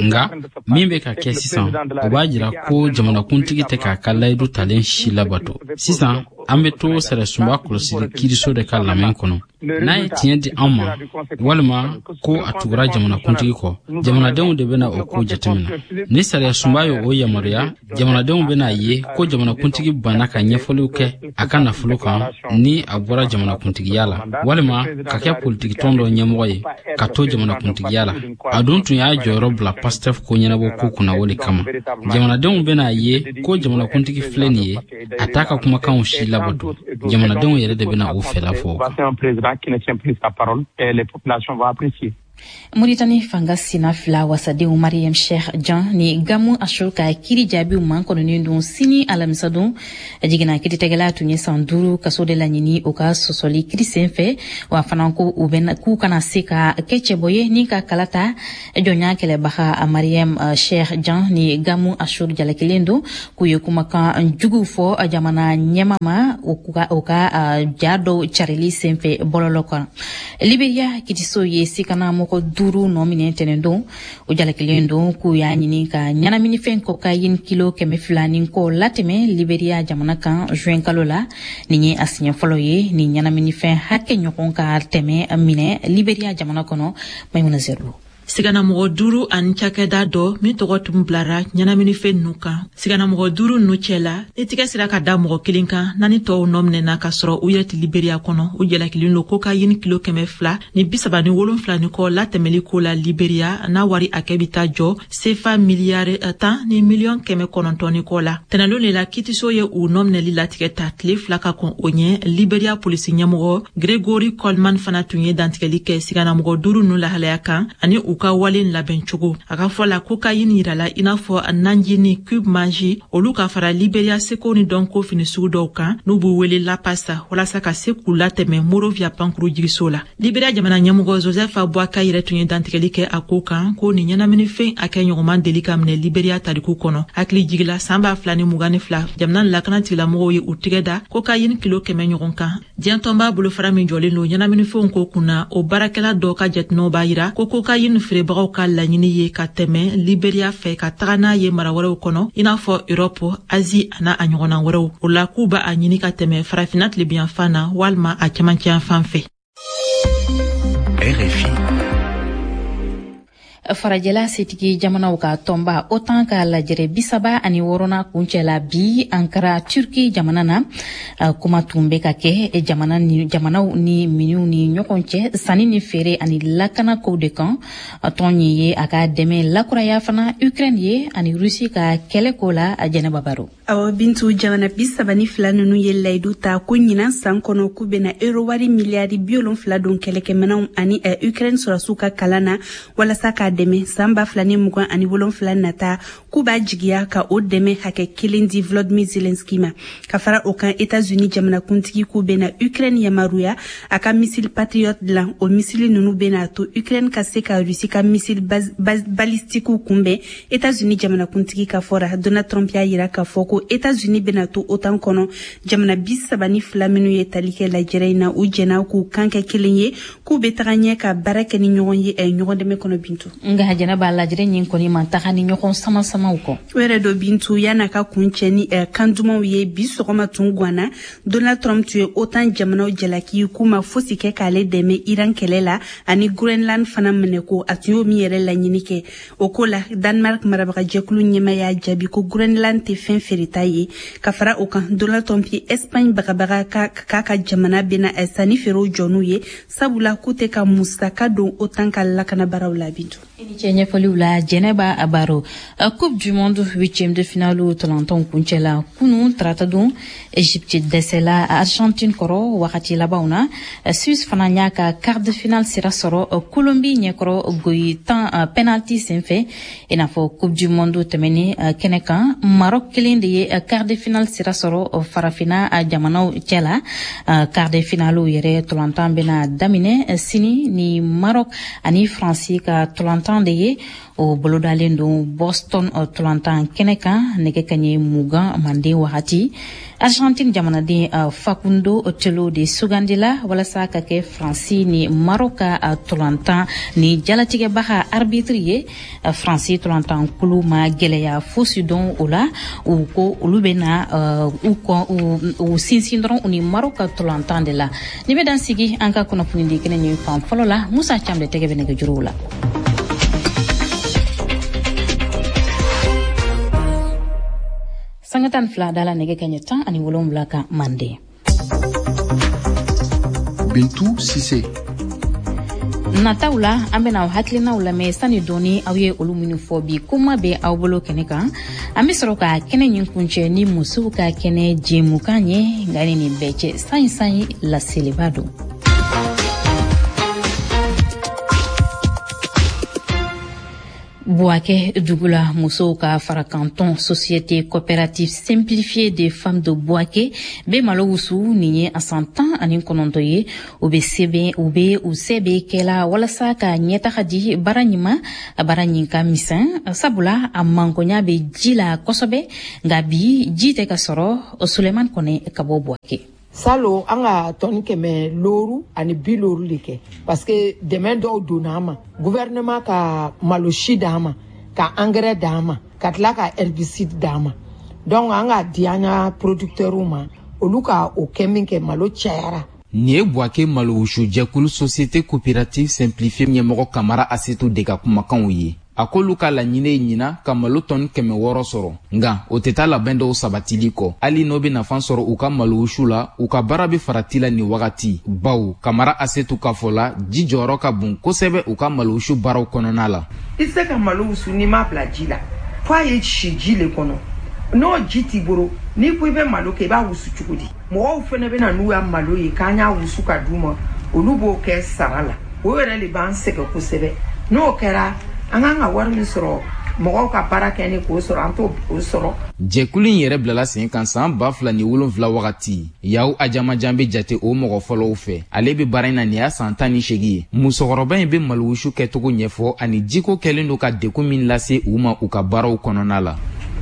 Nga min bɛ ka kɛ sisan, o b'a jira ko jamanakuntigi tɛ k'a ka layidu talen si labato sisan. An bɛ to sariyasunba kɔlɔsili kiiriso de ka lamɛn kɔnɔ. N'a ye tiɲɛ di an ma walima ko a tugura jamanakuntigi kɔ, jamanadenw de bɛna o ko jateminɛ. Ni sariyasunba ye o yamaruya, jamanadenw bɛna ye ko jamanakuntigi banna ka ɲɛfɔliw kɛ a ka nafolo kan ni a bɔra jamanakuntigiya la, walima ka kɛ politikitɔn dɔ ɲɛmɔgɔ ye ka to jamanakuntigiya la. A dun tun y'a jɔyɔrɔ bila PASTEF ko ɲɛnabɔ ko kunna o de kama. Jamanadenw bɛna ye ko jamanakuntigi filɛ nin ye, a t'a ka kumakanw si labato. Jamanadenw yɛrɛ de bɛna o fɛla fɔ o kan. Qui ne tient plus sa parole et les populations vont apprécier. Mauritanie fanga sina fila wasadenw Mariam Cheikh Jan ni Gamu Ashur ka kiri jaabiw makɔnɔnen don sini alamisadon. Jiginna kiiritigɛla tun ye san duuru kaso de laɲini o ka sɔsɔli kiri senfɛ, wa fana ko u bɛ k'u kana se ka kɛ cɛbɔ ye ni ka kala ta. Jɔnya kɛlɛbaga Mariam Cheikh Jan ni Gamu Ashur jalakilen don k'u ye kumakan juguw fɔ jamana ɲɛma ma o ka ja dɔw carili senfɛ bɔlɔlɔ kan. Liberia kitiso ye sikana mɔgɔ duuru nɔ minɛ tɛnɛndon. O jalakilen don k'u y'a ɲini ka ɲɛnaminifɛn kokayini kilo kɛmɛ fila ni kɔ latɛmɛ Liberia jamana kan juin kalo la. Nin ye a siɲɛ fɔlɔ ye ni ɲɛnaminifɛn hakɛ ɲɔgɔn ka tɛmɛ minɛ Liberia jamana kɔnɔ. Maimuna Zerbo. Siganamɔgɔ duuru ani cakɛda dɔ min tɔgɔ tun bilara ɲɛnaminifɛn ninnu kan. Siganamɔgɔ duuru ninnu cɛla, ni tigɛ sera ka da mɔgɔ kelen kan, naani tɔw nɔ minɛna ka sɔrɔ u yɛrɛ tɛ Liberia kɔnɔ. U jalakilen don kokayini kilo kɛmɛ fila ni bi saba ni wolonfila ni kɔ latɛmɛli ko la Liberia, n'a wari hakɛ bɛ taa jɔ sefa miliyari tan ni miliyɔn kɛmɛ kɔnɔntɔn ni kɔ la. Tɛnɛndon de la kiitiso ye u nɔ minɛli latigɛ ta tile fila ka kɔn o ɲɛ. Liberia polisi ɲɛmɔgɔ Gregory Coleman fana tun ye dantigɛli kɛ siganamɔgɔ duuru ninnu lahalaya kan ani u ka wale labɛn cogo. A ka fɔ la kokayini yirala i n'a fɔ nanjini cube manji olu ka fara Liberia seko ni dɔnko fini sugu dɔw kan n'u b'u wele lapasa, walasa ka se k'u latɛmɛ Monrovia pankuru jigiso la. Liberia jamana ɲɛmɔgɔ Joseph Boakai yɛrɛ tun ye dantigɛli kɛ a ko kan ko nin ɲɛnaminifɛn hakɛ ɲɔgɔnman deli ka minɛ Liberia tariku kɔnɔ. Hakili jigila san ba fila ni mugan ni fila jamana lakana tigilamɔgɔw ye u tigɛ da kokayini kilo kɛmɛ ɲɔgɔn kan. Diɲɛ tɔnba bolofara min jɔlen don ɲɛnaminifɛnw ko kunna, o baarakɛla dɔ ka jateminɛw b'a yira ko kokayini feerebagaw ka laɲini ye ka tɛmɛ Liberia fɛ ka taga n'a ye mara wɛrɛw kɔnɔ i n'a fɔ Europe, Asie ana a ɲɔgɔnna wɛrɛw. O la k'u b'a ɲini ka tɛmɛ farafinna tilebinyanfan na walima a cɛmancɛyanfan fɛ. R F I. Farajɛla setigi jamanaw ka tɔnba OTAN ka lajɛrɛ bisaba ani wɔɔrɔnan kuncɛla bi Ankara Turki jamana na. Kuma tun bɛ ka kɛ jamana ni jamanaw ni minnu ni ɲɔgɔn cɛ sanni ni feere ani lakana kow de kan. Tɔn ye a ka dɛmɛ lakuraya fana Ukraine ye ani Rusi ka kɛlɛ ko la. Jɛnɛba Baro. Awɔ Bintu, jamana bi saba ni fila ninnu ye layidu ta ko ɲinan san kɔnɔ k'u bɛna euro wari miliyari bi wolonfila don kɛlɛkɛminɛnw ani Ukraine sɔrɔsiw ka kalan na walasa k'a dɛmɛ san ba fila ni mugan ani wolonfila nata. K'u b'a jigiya ka o dɛmɛ hakɛ kelen di Volodymyr Zelensky ma. Ka fara o kan, États-Unis jamanakuntigi k'u bɛna Ukraine yamaruya a ka missile Patriot dilan. O missile ninnu bɛna to Ukraine ka se ka Russie ka missile balistiquew kunbɛn. États-Unis jamanakuntigi ka fɔra Donald Trump y'a yira k'a fɔ ko États-Unis bɛna to OTAN kɔnɔ. Jamana bi saba ni fila minnu ye tali kɛ lajɛrɛ in na, u jɛna k'u kan kɛ kelen ye, k'u bɛ taga ɲɛ ka baara kɛ ni ɲɔgɔn ye ɲɔgɔn dɛmɛ kɔnɔ. Bintu, nka Jɛnɛba, lajɛrɛ ɲin kɔni man taga ni ɲɔgɔn sama samaw kɔ. O yɛrɛ dɔ Bintu, yan'a ka kuncɛ ni kan dumanw ye, bi sɔgɔma tun ganna Donald Trump tun ye OTAN jamanaw jalaki k'u ma fosi kɛ k'ale dɛmɛ Iran kɛlɛ la ani Groenland fana minɛ ko a tun y'o min yɛrɛ laɲini kɛ. O ko la, Danemark marabagajɛkulu ɲɛmaa y'a jaabi ko Groenland tɛ fɛn feereta ye. Ka fara o kan, Donald Trump ye Espagne bagabaga k'a ka jamana bɛna sanni feerew jɔ n'u ye, sabula k'u tɛ ka musaka don OTAN ka lakanabaraw la. Bintu, i ni cɛ ɲɛfɔliw la Jɛnɛba Baro. Coupe du monde huitième de finale tɔlɔntɔnw kuncɛla kunun tarata don. Egypte dɛsɛla Argentine kɔrɔ wagati labanw na. Suisse fana y'a ka quart de finale sira sɔrɔ Colombie ɲɛkɔrɔ goyi tan penalty senfɛ. I n'a fɔ Coupe du monde tɛmɛnen kɛnɛ kan, Maroc kelen de ye quart de finale sira sɔrɔ farafinna jamanaw cɛ la. Quart de finale yɛrɛ tɔlɔntɔn bɛna daminɛ sini ni Maroc ani Faransi ka tɔlɔntɔn de ye. O bolodalen don Boston tɔlɔntan kɛnɛ kan nɛgɛ kaɲɛ mugan manden wagati. Argentine jamanaden uh, Facundo Telo de sugandila walasa ka kɛ Faransi ni Maroc ka uh, tolantan ni jalatigɛbaga arbitre ye. uh, Faransi tolantan kulu ma gɛlɛya fosi dɔn o la, u ko olu bɛna uh, u, u, u sinsin dɔrɔn u ni Maroc ka tolantan de la. Ni bɛ dan sigi an ka kunnafoni di kɛnɛ ɲin fan fɔlɔ la, Musa Cam de tɛgɛ bɛ nɛgɛjuruw la. Sanga tan fila dala nɛgɛ kaɲɛ tan ani wolonwula kan Manden. Bintu Sise. Nataw la an bɛna aw hakilinaw lamɛn sani dɔɔni aw ye olu minnu fɔ bi kuma bɛ aw bolo kɛnɛ kan. An bɛ sɔrɔ ka kɛnɛ ɲin kuncɛ ni musow ka kɛnɛ jɛmukan ye, nka ni nin bɛɛ cɛ sanyi sanyi laseliba don. Bouaké dugu la musow ka farakanton Société coopérative simplifiée des femmes de Bouaké bɛ malo wusu nin ye a san tan ani kɔnɔntɔn ye. U bɛ sɛbɛn u bɛ u se bɛ kɛla walasa ka ɲɛtaga di baara ɲuman, baara ɲin ka misɛn, sabula a mankonya bɛ ji la kosɛbɛ, nka bi ji tɛ ka sɔrɔ. Suleiman Kone ka bɔ Bouaké. Salo an ka tɔni kɛmɛ looru ani bi looru de kɛ parce que dɛmɛ dɔw donna an ma, gouvernement ka malo si d'an ma, ka engrais d'an ma, ka tila ka herbicide d'an ma. Donc an ka di an ka producteurs ma, olu ka o kɛ min kɛ malo cayara. Nin ye Bouaké malowusujɛkulu Société coopérative simplifiée ɲɛmɔgɔ Kamara Asetu de ka kumakanw ye. A k'olu ka laɲini ye ɲina ka malo tɔni kɛmɛ wɔɔrɔ sɔrɔ, nka o tɛ taa labɛn dɔw sabatili kɔ. Hali n'o bɛ nafa sɔrɔ u ka malowusu la, u ka baara bɛ farati la nin wagati, bawo Kamara Asetu ka fɔ la, ji jɔyɔrɔ ka bon kosɛbɛ u ka malowusu baaraw kɔnɔna la. I tɛ se ka malo wusu n'i m'a bila ji la, f'a ye si ji le kɔnɔ. N'o ji t'i bolo, n'i ko i bɛ malo kɛ, i b'a wusu cogo di? Mɔgɔw fana bɛ na n'u ya malo ye k'an y'a wusu ka d'u ma, olu b'o kɛ sara la. O yɛrɛ de b'an sɛgɛn kosɛbɛ. N'o kɛra, an kan ka wari min sɔrɔ mɔgɔw ka baara kɛ ni k'o sɔrɔ, an t'o sɔrɔ. Jɛkulu in yɛrɛ bilala sen kan san ba fila ni wolonfila wagati. Yaw Ajamajan bɛ jate o mɔgɔ fɔlɔw fɛ. Ale bɛ baara in na nin y'a san tan ni seegin ye. Musokɔrɔba in bɛ malowusu kɛcogo ɲɛfɔ ani jiko kɛlen don ka degun min lase u ma u ka baaraw kɔnɔna la.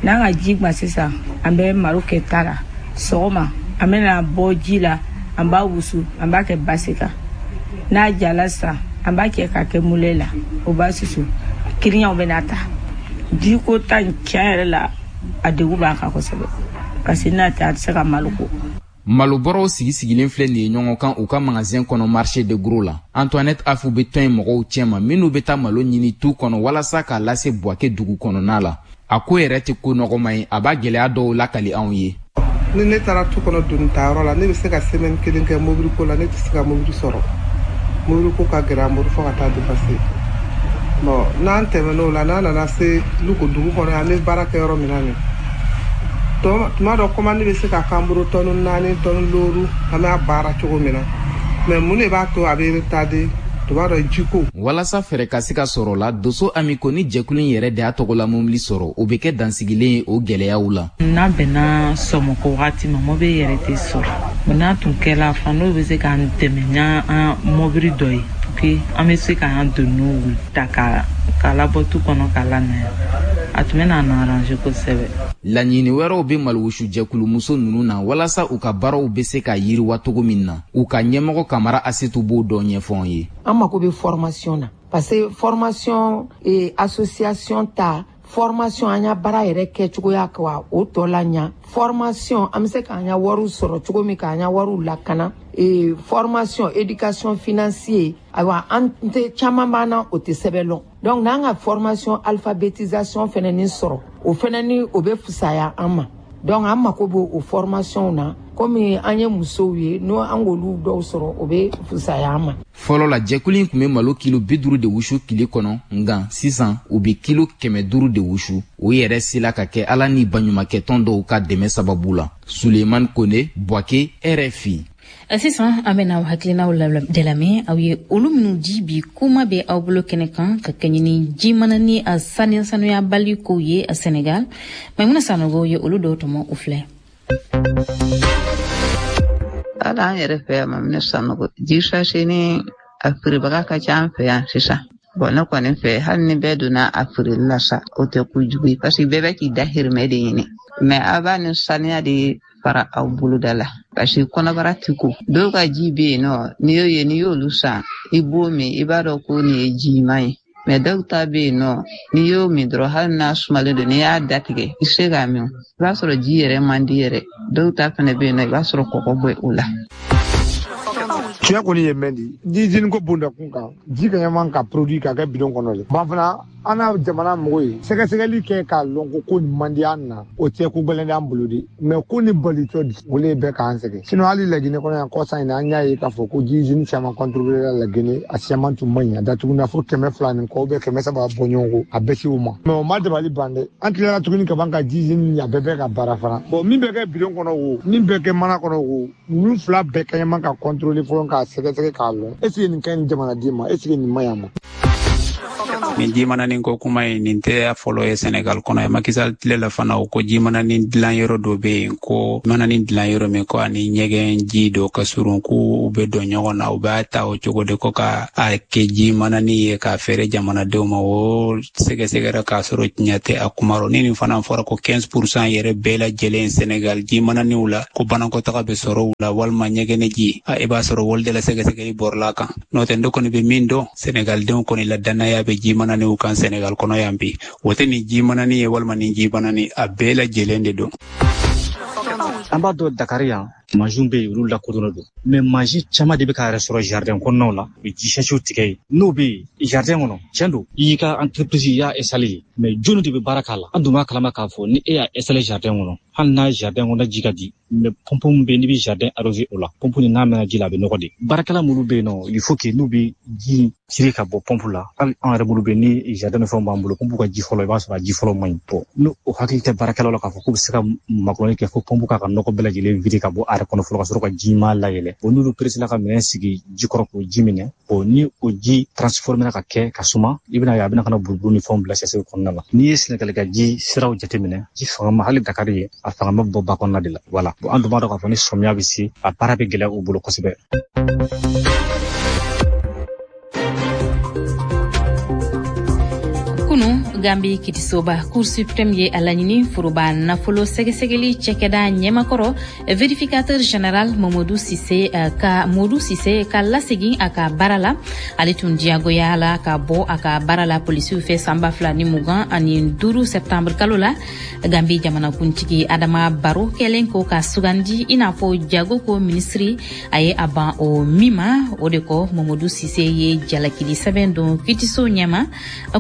N'an ka ji gwan sisan, an bɛ malo kɛ ta la. Sɔgɔma an bɛna bɔ ji la, an b'a wusu, an b'a kɛ basi kan. N'a jala sisan, an b'a kɛ k'a kɛ mule la, o b'a susu. Kiriɲaw bɛ n'a ta. Jiko ta in tiɲɛ yɛrɛ la, a degun b'an kan kosɛbɛ, parce que n'a tɛ a tɛ se ka malo ko. Malobɔrɔw sigi sigilen filɛ nin ye ɲɔgɔn kan u ka magasin kɔnɔ marché de gros la. Antoinette Afu bɛ tɔn in mɔgɔw cɛma minnu bɛ taa malo ɲini tu kɔnɔ walasa k'a lase Bouaké dugu kɔnɔna la. A ko yɛrɛ tɛ ko nɔgɔma ye, a b'a gɛlɛya dɔw lakali anw ye. Ni ne taara tu kɔnɔ doni tayɔrɔ la, ne bɛ se ka semaine kelen kɛ mobili ko la, ne tɛ se ka mobili sɔrɔ. Mobili ko ka gɛlɛn an bolo fo ka taa dépasser. Bon, n'an tɛmɛn'o la, n'an nana se Luko dugu kɔnɔ, an bɛ baara kɛ yɔrɔ min na nin, tuma dɔ commande bɛ se ka k'an bolo tɔni naani, tɔni looru, an b'a baara cogo min na. Mais mun de b'a to a bɛ retarder? Tuma dɔ jiko. Walasa fɛɛrɛ ka se ka sɔrɔ la, Doso Amiko ni jɛkulu in yɛrɛ de y'a tɔgɔla mobili sɔrɔ, o bɛ kɛ dansigilen ye o gɛlɛyaw la. N'a bɛnna sɔmɔkɔ wagati ma, mobili yɛrɛ tɛ sɔrɔ. N'a tun kɛla fan, n'o bɛ se k'an dɛmɛ n'an mobili dɔ ye, que an bɛ se k'an doniw ta ka k'a labɔ tu kɔnɔ k'a lana yan, a tun bɛ n'an arranger kosɛbɛ. Laɲini wɛrɛw bɛ malowusu jɛkulumuso ninnu na walasa u ka baaraw bɛ se ka yiriwa cogo min na. U ka ɲɛmɔgɔ Kamara Asetu b'o dɔ ɲɛfɔ an ye. An mako bɛ formation na, parce que formation eh, association ta formation an ya baara yɛrɛ kɛcogoya ka o tɔ la ɲa. Formation an bɛ se k'an ya wariw sɔrɔ cogo min, k'an ya wariw lakana. E, formation éducation financière, ayiwa an tɛ caman b'an na o tɛ sɛbɛn lɔn. Donc n'an ka formation alphabétisation fɛnɛ ni sɔrɔ, o fɛnɛ ni o bɛ fisaya an ma. Donc an mako b'o o formation na, komi an ye musow ye, n'o an k'olu dɔw sɔrɔ, o bɛ fisaya an ma. Fɔlɔ la, jɛkulu in tun bɛ malo kilo bi duuru de wusu tile kɔnɔ, nka sisan u bɛ kilo kɛmɛ duuru de wusu. O yɛrɛ sela ka kɛ Ala ni baɲumankɛtɔn dɔw ka dɛmɛ sababu la. Suleiman Kone, Bouaké, R F I. Sisan an bɛna aw hakilinaw de lamɛn, aw ye olu minnu di bi kuma bɛ aw bolo kɛnɛ kan ka kɛɲɛ ni jimana ni a saniya sanuyabali kow ye a Senegal. Maimuna Sanogo ye olu dɔw tɔmɔ, u filɛ. Hali an yɛrɛ fɛ yan, Maminɛ Sanogo, ji sachet ni a feerebaga ka ca an fɛ yan sisan. Bon, ne kɔni fɛ, hali ni bɛɛ donna a feereli la sa, o tɛ kojugu ye, parce que bɛɛ bɛ k'i dahirimɛ de ɲini. Mais a b'a ni saniya de. fara aw boloda la. Parce que kɔnɔbara ti ko. Dɔw ka ji bɛ yen nɔ, n'i y'o ye, n'i y'olu san, i b'o min, i b'a dɔn ko nin ye ji ɲuman ye. Mais dɔw ta bɛ yen nɔ, n'i y'o min dɔrɔn, hali n'a sumalen don, n'i y'a datigɛ, i se k'a min. I b'a sɔrɔ ji yɛrɛ man di yɛrɛ. Dɔw ta fana bɛ yen nɔ, i b'a sɔrɔ kɔgɔ bɔ o la. Tiɲɛ kɔni ye mɛn di ni usine ko bonda kun kan, ji ka ɲaman ka produit ka kɛ bidon kɔnɔ le. Ban fana an na jamana mɔgɔw ye sɛgɛsɛgɛli kɛ k'a lɔn ko ko nin man di an na, o tɛ ko gɛlɛn d'an bolo de. Mais ko ni balitɔ o le bɛ k'an sɛgɛn. Sinon hali Laginɛ kɔnɔ yan kɔsa in na, an y'a ye k'a fɔ ko ji usine caman contrôlé la Laginɛ, a caman tun man ɲi, a datuguna fo kɛmɛ fila ni kɔ bɛ kɛmɛ saba bɔ ɲɔgɔn kɔ, a bɛɛ se o ma. Mais o ma dabali ban dɛ, an tilara tuguni ka ban ka ji usine a bɛɛ bɛ ka baara fana. Bon, min bɛ kɛ bidon kɔnɔ o, min bɛ kɛ mana kɔnɔ o, ninnu fila bɛɛ ka ɲaman ka contrôler fɔlɔ k'a sɛgɛsɛgɛ k'a lɔn. Est ce que nin ka ɲi jamanaden ma, est ce que nin man ɲi a ma? Nin jimananin ko kuma ye, nin tɛ a fɔlɔ ye Senegal kɔnɔ ye. Macky Sall tile la fana, o ko jimananin dilan yɔrɔ dɔ bɛ yen, ko mananin dilan yɔrɔ min, ko ani ɲɛgɛn ji dɔ ka surun, k'u bɛ don ɲɔgɔn na, u b'a ta o cogo de ko ka a kɛ jimananin ye k'a feere jamanadenw ma. O sɛgɛsɛgɛra k'a sɔrɔ tiɲɛ tɛ a kuma rɔ. Ni nin fana fɔra ko quinze pour cent yɛrɛ bɛɛ lajɛlen Senegal jimananiw la, ko banakɔtaga bɛ sɔrɔ u la walima ɲɛgɛnɛ ji, i b'a sɔrɔ wali de la sɛgɛsɛgɛli bɔrɔla kan. N'o tɛ, ne kɔni bɛ min dɔn, Senegaldenw kɔni la danaya bɛ jimananiw kan Senegal kɔnɔ yan bi. O tɛ nin jimanani ye walima nin jimanani, a bɛɛ lajɛlen de don. An b'a dɔn Dakar yan, mansinw bɛ yen, olu lakodɔnnen don. Mais mansin caman de bɛ ka yɛrɛ sɔrɔ jardin kɔnɔnaw la, u bɛ ji sɛsiw tigɛ yen. N'o bɛ yen jardin kɔnɔ, tiɲɛ don, i y'i ka entreprise, i y'a installé yen, mais jɔnni de bɛ baara k'a la? An dun b'a kalama k'a fɔ ni e y'a installé jardin kɔnɔ, hali n'a jardin kɔnɔ ji ka di, mais pompe min bɛ yen, n'i bɛ jardin arrosé o la, pompe nin n'a mɛnna ji la, a bɛ nɔgɔ de. Baarakɛla minnu bɛ yen nɔ, il faut que n'u bɛ ji tirer ka bɔ pompe la, hali an yɛrɛ minnu bɛ yen ni jardin ni fɛnw b'an bolo, pompe ka ji fɔlɔ, i b'a sɔrɔ a ji fɔlɔ man ɲi. Bon, n'o o hakili tɛ baarakɛlaw la k'a fɔ k'u bɛ se ka makɔnɔni kɛ fo pompe k'a ka nɔgɔ bɛɛ lajɛlen vider ka bɔ a yɛrɛ kɔnɔ fɔlɔ ka sɔrɔ ka ji ɲuman layɛlɛ. Bon, n'olu peresela ka minɛn sigi ji kɔrɔ k'o ji minɛ, bon, ni o ji transformé ka kɛ ka suma, i bɛna ye a bɛna ka na buruburu ni fɛnw bila sɛsɛw kɔnɔna la. N'i ye Sɛnɛgali ka ji siraw jateminɛ, ji fanga ma hali Dakar ye, a fanga ma bɔ ba kɔnɔna de la. Voilà. Bon, an dun b'a dɔn k'a fɔ ni sɔmiya bɛ se, a baara bɛ gɛlɛya u bolo kosɛbɛ. Kunu Gambi kitisoba Cour suprême ye a laɲini foroba nafolo sɛgɛsɛgɛli cɛkɛda ɲɛmakɔrɔ vérificateur général Mamadou Cissé ka Modou Cissé ka lasegin a ka baara la. Ale tun diyagoya la ka bɔ a ka baara la polisiw fɛ san ba fila ni mugan ani duuru septembre kalo la. Gambi jamanakuntigi Adama Barrow kɛlen ko ka sugandi i n'a fɔ jago ko minisiri, a ye a ban o min ma. O de kɔ Mamadou Cissé ye jalakili sɛbɛn don kitiso ɲɛma.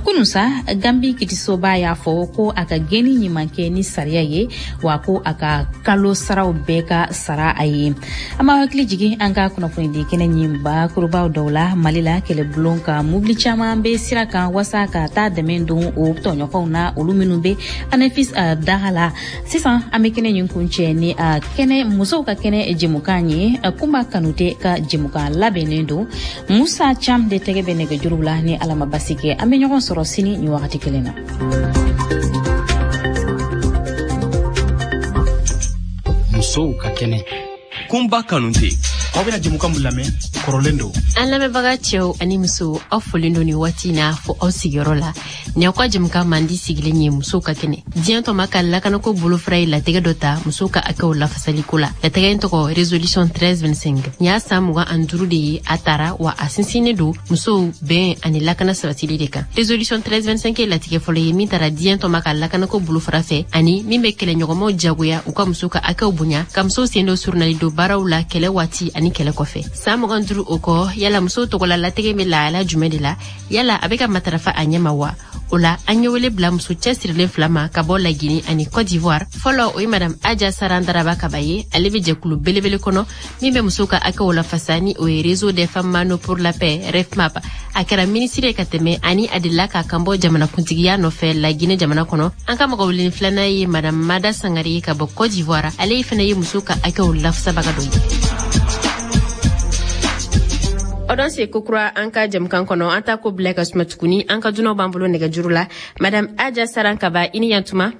Kunu sa, Gambi kitisoba y'a fɔ ko a ka gɛnni ɲuman kɛ ni sariya ye, wa ko a ka kalo saraw bɛɛ ka sara a ye. An b'a hakili jigin an ka kunnafonidi kɛnɛ ɲin bakurubaw dɔw la. Mali la, kɛlɛbulon ka mobili caman bɛ sira kan wasa ka taa dɛmɛ don o tɔɲɔgɔnw na, olu minnu bɛ Anefis daga la. Sisan an bɛ kɛnɛ ɲin kuncɛ ni a kɛnɛ musow ka kɛnɛ jɛmukan ye. Kunba Kanute ka jɛmukan labɛnnen don. Musa Cham de tɛgɛ bɛ nɛgɛjuru la. Ni Ala ma basi kɛ, an bɛ ɲɔgɔn sɔrɔ sini nin wagati kelen na. Musow ka kɛnɛ. Kunba Kanute. Aw bɛna jɛmukan min lamɛn, kɔrɔlen don. An lamɛnbaga cɛw ani musow, aw folen don nin waati na fo aw sigiyɔrɔ la. Nin y'aw ka jɛmukan mandi sigilen ye musow ka kɛnɛ. Diɲɛ tɔma ka lakanako bolofara ye latigɛ dɔ ta musow ka hakɛw lafasaliko la. Latigɛ in tɔgɔ résolution treize vingt-cinq. Nin y'a san mugan ani duuru de ye a tara, wa a sinsinnen don musow bɛn ani lakana sabatili de kan. Résolution treize vingt-cinq ye latigɛ fɔlɔ ye min tara diɲɛ tɔma ka lakanako bolofara fɛ, ani min bɛ kɛlɛɲɔgɔnmaw jagoya u ka musow ka hakɛw bonya, ka musow sen don surunali don baaraw la kɛlɛ waati ani kɛlɛ kɔfɛ. San mugan duuru o kɔ, yala musow tɔgɔla latigɛ bɛ lahala jumɛn de la? Yala a bɛ ka matarafa a ɲɛ ma wa? O la, an ye wele bila muso cɛsirilen fila ma ka bɔ Lagini ani Côte d'Ivoire. Fɔlɔ, o ye madame Adja Sarandaraba Kaba ye. Ale bɛ jɛkulu belebele kɔnɔ min bɛ musow ka hakɛw lafasa, ni o ye Réseau des femmes Mano pour la paix REFMAP. A kɛra minisiri ye ka tɛmɛ, ani a delila k'a kan bɔ jamanakuntigiya nɔfɛ Lagine jamana kɔnɔ. An ka mɔgɔ weleni filanan ye madame Mada Sangare ye ka bɔ Côte d'Ivoire. Ale fana ye musow ka hakɛw lafasabaga dɔ ye. O don se kokura an ka jɛmukan kɔnɔ, an ta ko bila ka suma tuguni. An ka dunanw b'an bolo nɛgɛjuru la. Madame Adja Sarankaba, i ni yantuma.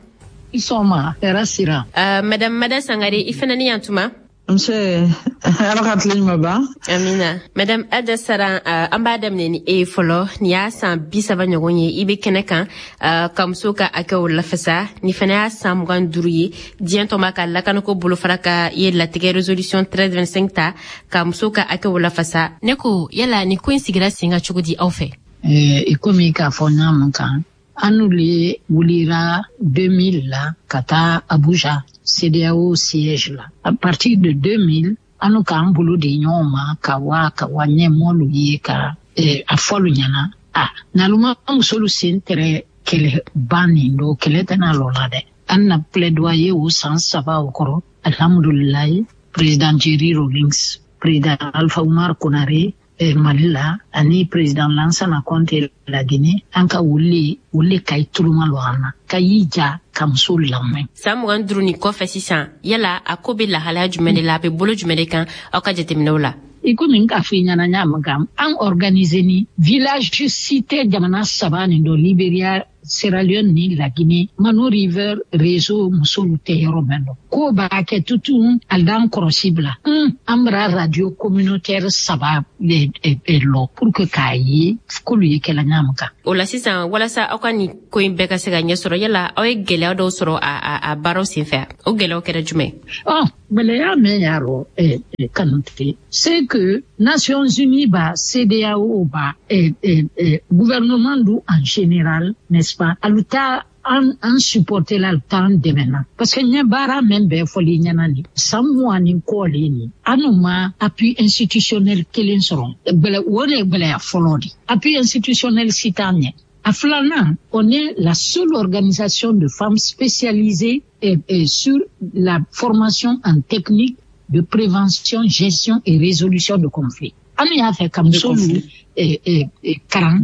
I sɔgɔma, hɛrɛ sira. Uh, madame Mada Sangare, i fana ni yantuma. Nse, Ala ka tile ɲuman ban. Amina. Madame Adja Saran, uh, an b'a daminɛ ni e ye fɔlɔ. Nin y'a san bi saba ɲɔgɔn ye i bɛ kɛnɛ kan uh, ka musow ka hakɛw lafasa. Nin fana y'a san mugan duuru ye diɲɛ tɔnba ka lakanako bolofara ka ye latigɛ résolution treize vingt-cinq ta ka musow ka hakɛw lafasa. Ne ko yala nin ko in sigira sen kan cogo di aw fɛ? Eh, i komi k'a fɔ ɲa min kan, an le wulira deux mille la ka taa Abuja, CEDEAO siège la. À partir de deux mille, an k'an bolo di ɲɔgɔn ma ka wa ka wa ɲɛmɔlu ye ka eh, a fɔlu ɲɛna a n'alu ma musolu sen tɛrɛ kɛlɛ ban nin don, kɛlɛ tɛna lɔ la dɛ. An na plaidoyer o san saba o kɔrɔ, alhamdulilayi, président Jerry Rawlings, président Alpha Oumar Konaré eh, Mali la, ani président Lansana Conté la Guinée, an ka wuli wuli ka i tuluma lɔ an na ka y'i ja ka muso lamɛn. San mugan duuru nin kɔfɛ sisan, yala a ko bɛ lahalaya jumɛn de la, a bɛ bolo jumɛn de kan aw ka jateminɛw la? I komi n k'a fɔ i ɲɛna ɲa min kan, an organiser ni village cité jamana saba nin dɔ, Libéria, Sierra Leone ni La Guinée, Mano River réseau musolu tɛ yɔrɔ mɛn dɔ ko b'a kɛ tutun ali d'an kɔrɔsi bila un an bara radio communautaire saba le lɔ pour que k'a ye k'olu ye kɛla ɲa min kan. O la sisan, walasa aw ka nin ko in bɛɛ ka se ka ɲɛ sɔrɔ, yala aw ye gɛlɛya dɔw sɔrɔ a, a, a baaraw senfɛ? O gɛlɛyaw kɛra jumɛn? Ɔ, gɛlɛya min y'a rɔ eh, eh, Kanute, c'est que Nations Unies ba, CEDEAO ba, eh, eh, eh, gouvernement du en général, n'est-ce pas, alu ta an an supporter la, alu t'an dɛmɛ na, parce que n ye baara min bɛɛ fɔli ɲɛna nin san mugan ni kɔ le nin, an ma appui institutionnel kelen sɔrɔ. Gbɛlɛ o de ye gbɛlɛya fɔlɔ de, appui institutionnel si t'an ɲɛ. A filanan, on est la seule organisation de femmes spécialisée et, et sur la formation en technique de prévention, gestion et résolution de conflits. An y'a fɛ ka musolu eh, eh, eh, karan,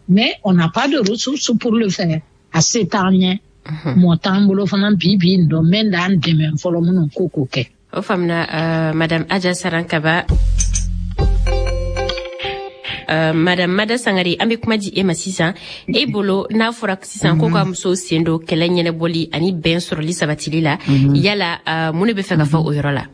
mais on n'a pas de ressources pour le faire. A se t'an ɲɛ, mɔɔ t'an bolo fana bi bi in dɔn mɛn d'an dɛmɛ fɔlɔ minnu ko k'o kɛ. O faamuna, uh, madame Adja Saran Kaba. Uh, madame Mada Sangare, an bɛ kuma di e ma sisan. E bolo, n'a fɔra sisan ko ka musow sen don kɛlɛ ɲɛnɛbɔli ani bɛn sɔrɔli sabatili la, yala uh, mun de bɛ fɛ ka fɔ o yɔrɔ la?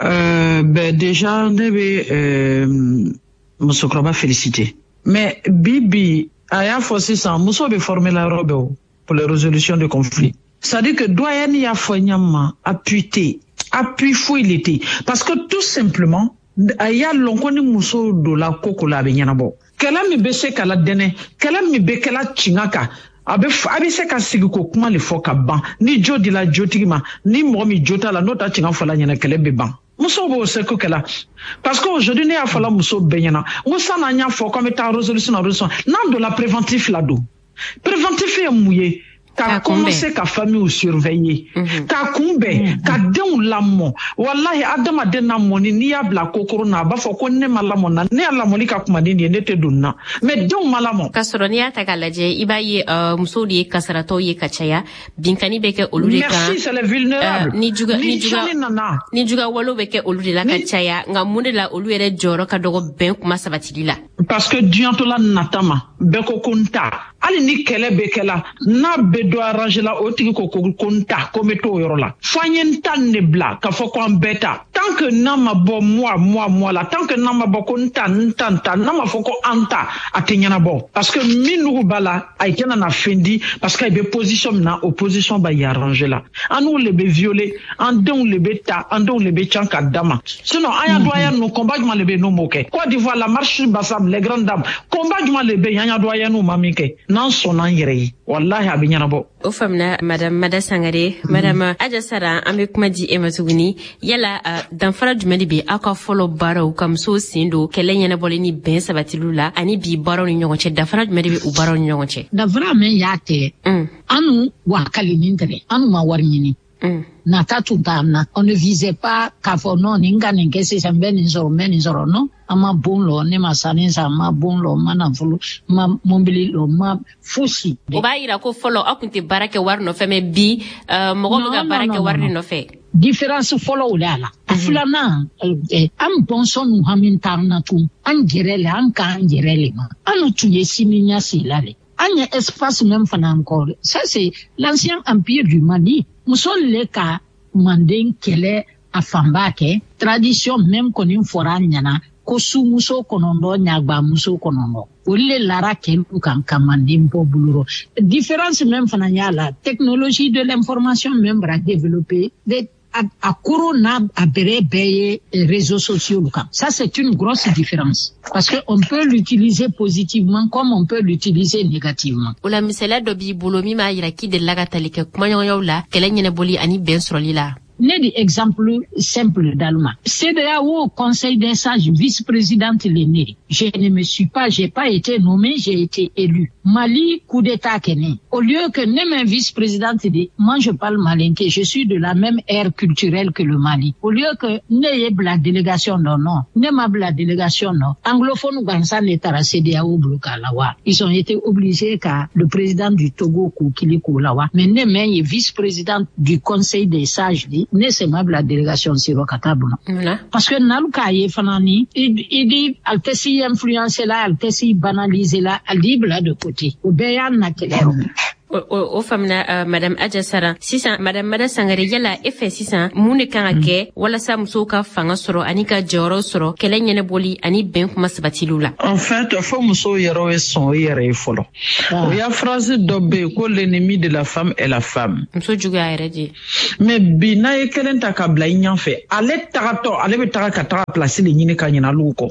Euh, ben déjà, ne bɛ euh, musokɔrɔba féliciter. Mais bi bi, a y'a fɔ sisan, muso bɛ former la yɔrɔ bɛɛ o pour les résolutions de conflits. C'est-à-dire que doyen y'a fɔ ɲa ma, appui tɛ yen, appui foyi le tɛ yen. Parce que tout simplement, a y'a lɔn ko ni muso donna ko ko la, a bɛ ɲɛnabɔ. Kɛlɛ min bɛ se ka la dɛnɛ, kɛlɛ min bɛ kɛla tiɲɛ kan, a bɛ a bɛ se ka sigi ko kuma le fɔ ka ban. Ni jo dila jotigi ma, ni mɔgɔ min jo t'a la, n'o ta tiɲɛ fɔla ɲɛna, kɛlɛ bɛ ban. Musow b'o seko kɛla, parce que aujourd'hui ne y'a fɔla muso bɛɛ ɲɛna n ko sanni an y'a fɔ k'an bɛ taa résolution na, résolution n'an donna préventif la don. Préventif ye mun ye? Ka commencer ka famille surveiller, ka kunbɛn, ka denw lamɔ. Walahi, adamaden lamɔni, n'i y'a bila kokoro na, a b'a fɔ ko ne ma lamɔ na, ne ya lamɔli ka kuma ni nin ye, ne tɛ don na, mais denw ma lamɔ. K'a sɔrɔ n'i y'a ta k'a lajɛ, i b'a ye uh, musow de ye kasaratɔw ye ka caya, binkani bɛ kɛ olu de kan. Merci, c'est les vulnérables. Uh, ni juga ni ni juga tiɲɛni nana, ni juga walew bɛ kɛ olu de la ka caya. Nka mun de la olu yɛrɛ jɔyɔrɔ ka dɔgɔ bɛn kuma sabatili la? Parce que diɲɛtɔla nata ma, bɛɛ ko ko n ta. Hali ni kɛlɛ bɛ kɛla, n'a bɛ dɔ arrange la, o tigi ko ko ko n ta, ko n bɛ t'o yɔrɔ la. Fo an ye n ta nin de bila k'a fɔ ko an bɛɛ ta. Tant que n'a ma bɔ moi, moi, moi la, tant que n'a ma bɔ ko n ta, n ta, n ta, n'a ma fɔ ko an ta, a tɛ ɲɛnabɔ, parce que min nugu b'a la, a tɛna na fɛn di, parce que a bɛ position min na, o position b'a y arranger la. An n'u le bɛ violer, an denw le bɛ ta, an denw le bɛ can ka da ma. Sinon an y'a doyen ninnu, combat jumɛn de bɛ yen n'o m'o kɛ? Côte d'Ivoire, la marche Bassam, les grandes dames, combat jumɛn de bɛ yen an y'a doyen n'u ma min kɛ? N'an sɔnna an yɛrɛ ye, walahi, a bɛ ɲɛnabɔ. O faamuna, madame Mada Sangare. Madame Aja Sara, an bɛ kuma di e ma tuguni. Yala uh, danfara jumɛn de bɛ aw ka fɔlɔ baaraw ka musow sen don kɛlɛ ɲɛnabɔli ni bɛn sabatiliw la ani bi baaraw ni ɲɔgɔn cɛ? Danfara jumɛn de bɛ u baaraw ni ɲɔgɔn cɛ? Danfara min y'a tɛ, anu wakalinin tɛ, anu ma wari ɲini. Nata tun t'an na, on ne visait pas k'a fɔ non, nin ka nin kɛ sisan, n bɛ nin sɔrɔ, n bɛ nin sɔrɔ. Non, an ma bon lɔ, ne ma sanni san, n ma bon lɔ, n ma nafolo, n ma mobili lɔ, n ma fosi. O b'a yira ko fɔlɔ aw tun tɛ baara kɛ wari nɔfɛ, mais bi uh, mɔgɔw bɛ ka baara kɛ wari de nɔfɛ. Différence fɔlɔ o de a la. A filanan, an bɔnsɔn nu hami t'an na tun, an yɛrɛ le, an k'an yɛrɛ le ma. An tun ye sini ɲɛsigi la le. An ye espace même fana encore, ça c'est l'ancien empire du Mali, muso le ka manden kɛlɛ. a fanba kɛ tradition même kɔni fɔra an ɲɛna ko sumuso kɔnɔntɔn ɲagbamuso kɔnɔntɔn olu le lara kɛlu kan ka manden bɔ bolo rɔ. Différence même fana y'a la, technologie de l'information même bara développer de a, a koro n'a a bɛrɛ bɛɛ ye réseaux sociaux kan. Ça, c'est une grosse différence parce que on peut l'utiliser positivement comme on peut l'utiliser négativement. O la, misaliya dɔ b'i bolo min b'a yira k'i delila ka tali kɛ kumaɲɔgɔnyaw la kɛlɛ ɲɛnabɔli ani bɛn sɔrɔli la? Ne di exemple simple d'Allemagne. C E D E A O Conseil des sages, vice-présidente l'aîné. Je ne me suis pas, j'ai pas été nommée, j'ai été élue. Mali, coup d'état kɛnin. Au lieu que ne ma vice-présidente dit, moi je parle malinké, je suis de la même aire culturelle que le Mali. Au lieu que ne ye la délégation, non, non. Ne ma la délégation, non. Anglophone gansan ne taara C E D E A O bolo la wa. Ils ont été obligés ka le président du Togo k'u kili k'o la wa. Mais ne ma ye vice-présidente du Conseil des sages di, ne se ma bila délégation siro ka taa bolo. Parce que nalu k'a ye fana ni i di ale tɛ si influencer la, ale tɛ si banaliser la, ale di bila de côté. O bɛɛ y'a na kɛlɛ rɔ. O faamuna, uh, madame Aja Saran. Sisan, madame Mada Sangare, yala e fɛ sisan, mun de kan ka kɛ walasa musow ka fanga sɔrɔ ani ka jɔyɔrɔ sɔrɔ kɛlɛ ɲɛnabɔli ani bɛn kuma sabatiliw la? En fait, fo musow yɛrɛ ye sɔn o yɛrɛ ye fɔlɔ. O ya phrase dɔ bɛ yen ko l'ennemi de la femme est la femme. Muso juguya yɛrɛ de. Mais bi, n'a ye kelen ta ka bila i ɲɛfɛ, ale tagatɔ, ale bɛ taga ka taga place de ɲini ka ɲinɛ olu kɔ,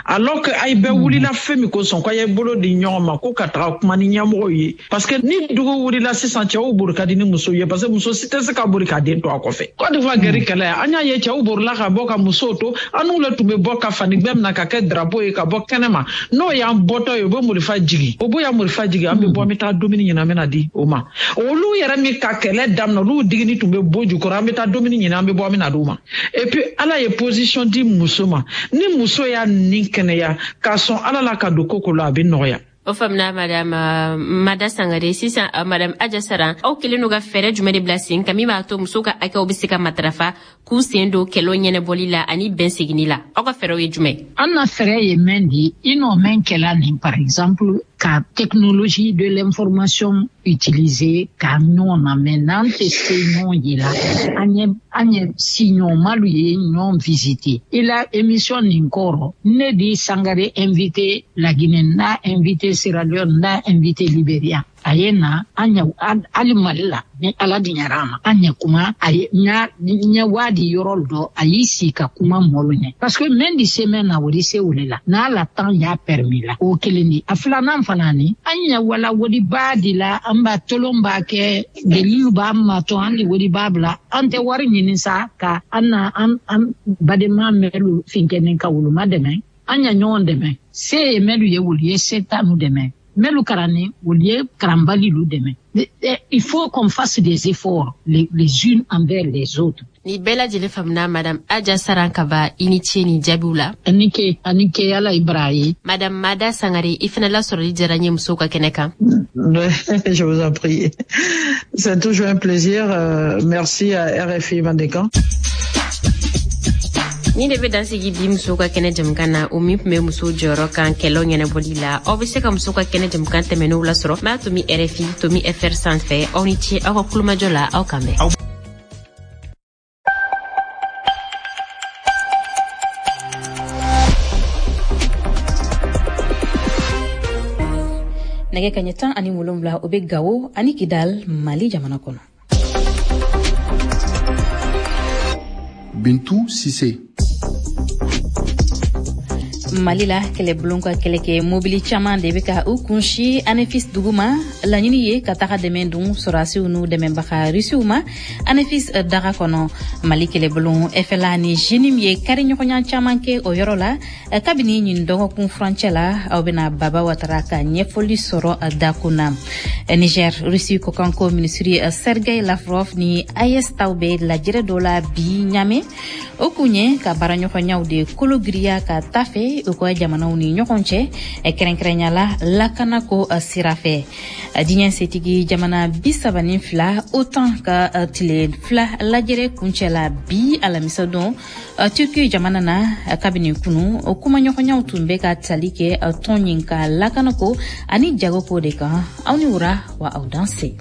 alors que ay bɛɛ wulila fɛn min kosɔn k'a ye bolo di ɲɔgɔn ma ko ka taga kuma ni ɲɛmɔgɔw ye, parce que ni dugu wulila sisan, cɛw bori ka di ni musow ye, parce que muso si tɛ se ka bori k'a den to a kɔfɛ. Côte d'Ivoire guerre kɛlɛ, an y'a ye cɛw borila ka bɔ ka musow to. An n'u le tun bɛ bɔ ka fani gbɛ minɛ ka kɛ drapeau ye ka bɔ kɛnɛ ma. N'o y'an bɔtɔ ye, u bɛ marifa jigi, o b'o ya marifa jigi, an bɛ bɔ, an bɛ taa dumuni ɲini, an bɛ na di o ma. Olu yɛrɛ min ka kɛlɛ daminɛ, olu digini tun bɛ bɔ jukɔrɔ, an bɛ taa dumuni ɲini, an bɛ bɔ, an bɛ na d'u ma. Et puis Ala ye position di muso ma. Ni muso y'a ni kɛnɛya k'a sɔn Ala la ka don ko ko la, a bɛ nɔgɔya. O faamuna, madame Mada Sangare. Sisan, madame Aja Saran, aw kelen n'u ka fɛɛrɛ jumɛn de bila sen kan min b'a to musow ka hakɛw bɛ se ka matarafa, k'u sen don kɛlɛw ɲɛnabɔli la ani bɛn seginni la? Aw ka fɛɛrɛw ye jumɛn? An na fɛɛrɛ ye mɛn di i n'o mɛn kɛla nin, par exemple ka technologie de l'information utiliser ka ɲɔgɔn na mɛ n'an tɛ se ɲɔgɔn ye la, an ye an ye siɲɔgɔnmalu ye ɲɔgɔn visiter. I la émission nin kɔrɔ, ne di Sangare invité Laginɛ, n'a invité Sierra Leone, n'a invité Libéria, a ye na an ɲɛ hali Mali la. Ni Ala diɲɛra a ma, an ɲɛ kuma a ye ɲa ɲɛ waadi yɔrɔ dɔ, a y'i sigi ka kuma mɔlu ɲɛ, parce que mɛn di se mɛn na, o di se o le la n'a la temps y'a permis la. O kelen di. A filanan fana ni an ɲɛ wala wodiba di la, an b'a tolon b'a kɛ delilu b'an ma to an di wodiba bila, an tɛ wari ɲini sa ka an na an an badenma mɛlu finkɛni ka woloma dɛmɛ. An ɲɛ ɲɔgɔn dɛmɛ, se ye mɛlu ye, wolu ye se ta nu dɛmɛ, mɛlu karanni, wolu ye karanbali lu dɛmɛ. Il faut qu'on fasse des efforts les, les unes envers les autres. Ni bɛɛ lajɛlen faamuna. Madame Aja Saran Kaba, i ni ce ni jaabiw la. Ani ke, ani ke, Ala i bara ye. Madame Mada Sangare, i fana lasɔrɔli diyara n ye musow ka kɛnɛ kan. Je vous en prie. C'est toujours un plaisir. Euh, merci à R F I Mandenkan. Ni de bɛ dansigi bi musow ka kɛnɛ jamukan na, o min tun bɛ musow jɔyɔrɔ kan kɛlɛw ɲɛnabɔli la. Aw bɛ se ka musow ka kɛnɛ jamukan tɛmɛnenw lasɔrɔ m'a tomi R F I tomi F R sanfɛ. Aw ni ce aw ka kulomajɔ la, aw kan bɛn. Nɛgɛ kaɲɛ tan ani wolonwula, o bɛ Gawo ani Kidal, Mali jamana kɔnɔ. Bintu Sise. Mali la, kɛlɛbulon ka kɛlɛkɛ mobili caman de bɛ ka u kunsi Anefis dugu ma. Laɲini ye ka taga dɛmɛ dun sɔrɔdasiw n'u dɛmɛbaga Rusiw ma Anefis daga kɔnɔ. Mali kɛlɛbulon F L A ni JNIM ye kariɲɔgɔnya caman kɛ o yɔrɔ la kabini ɲin dɔgɔkun furancɛ la. Aw bɛna Baba Watara ka ɲɛfɔli sɔrɔ dakun na. Niger, Rusi kɔkanko minisiri Sergei Lavrov ni A E S taw bɛ lajɛrɛ dɔ la bi Ɲame. O kun ye ka baaraɲɔgɔnyaw de kologiriya ka taa fɛ u ka jamanaw ni ɲɔgɔn cɛ, kɛrɛnkɛrɛnya la lakanako sira fɛ. Diɲɛ setigi jamana bi saba ni fila OTAN ka tile fila lajɛrɛ kuncɛ la bi alamisa don Turki jamana na. Kabini kunu, kumaɲɔgɔnyaw tun bɛ ka tali kɛ tɔn ɲin ka lakanako ani jagoko de kan. Aw ni wura wa, aw danse.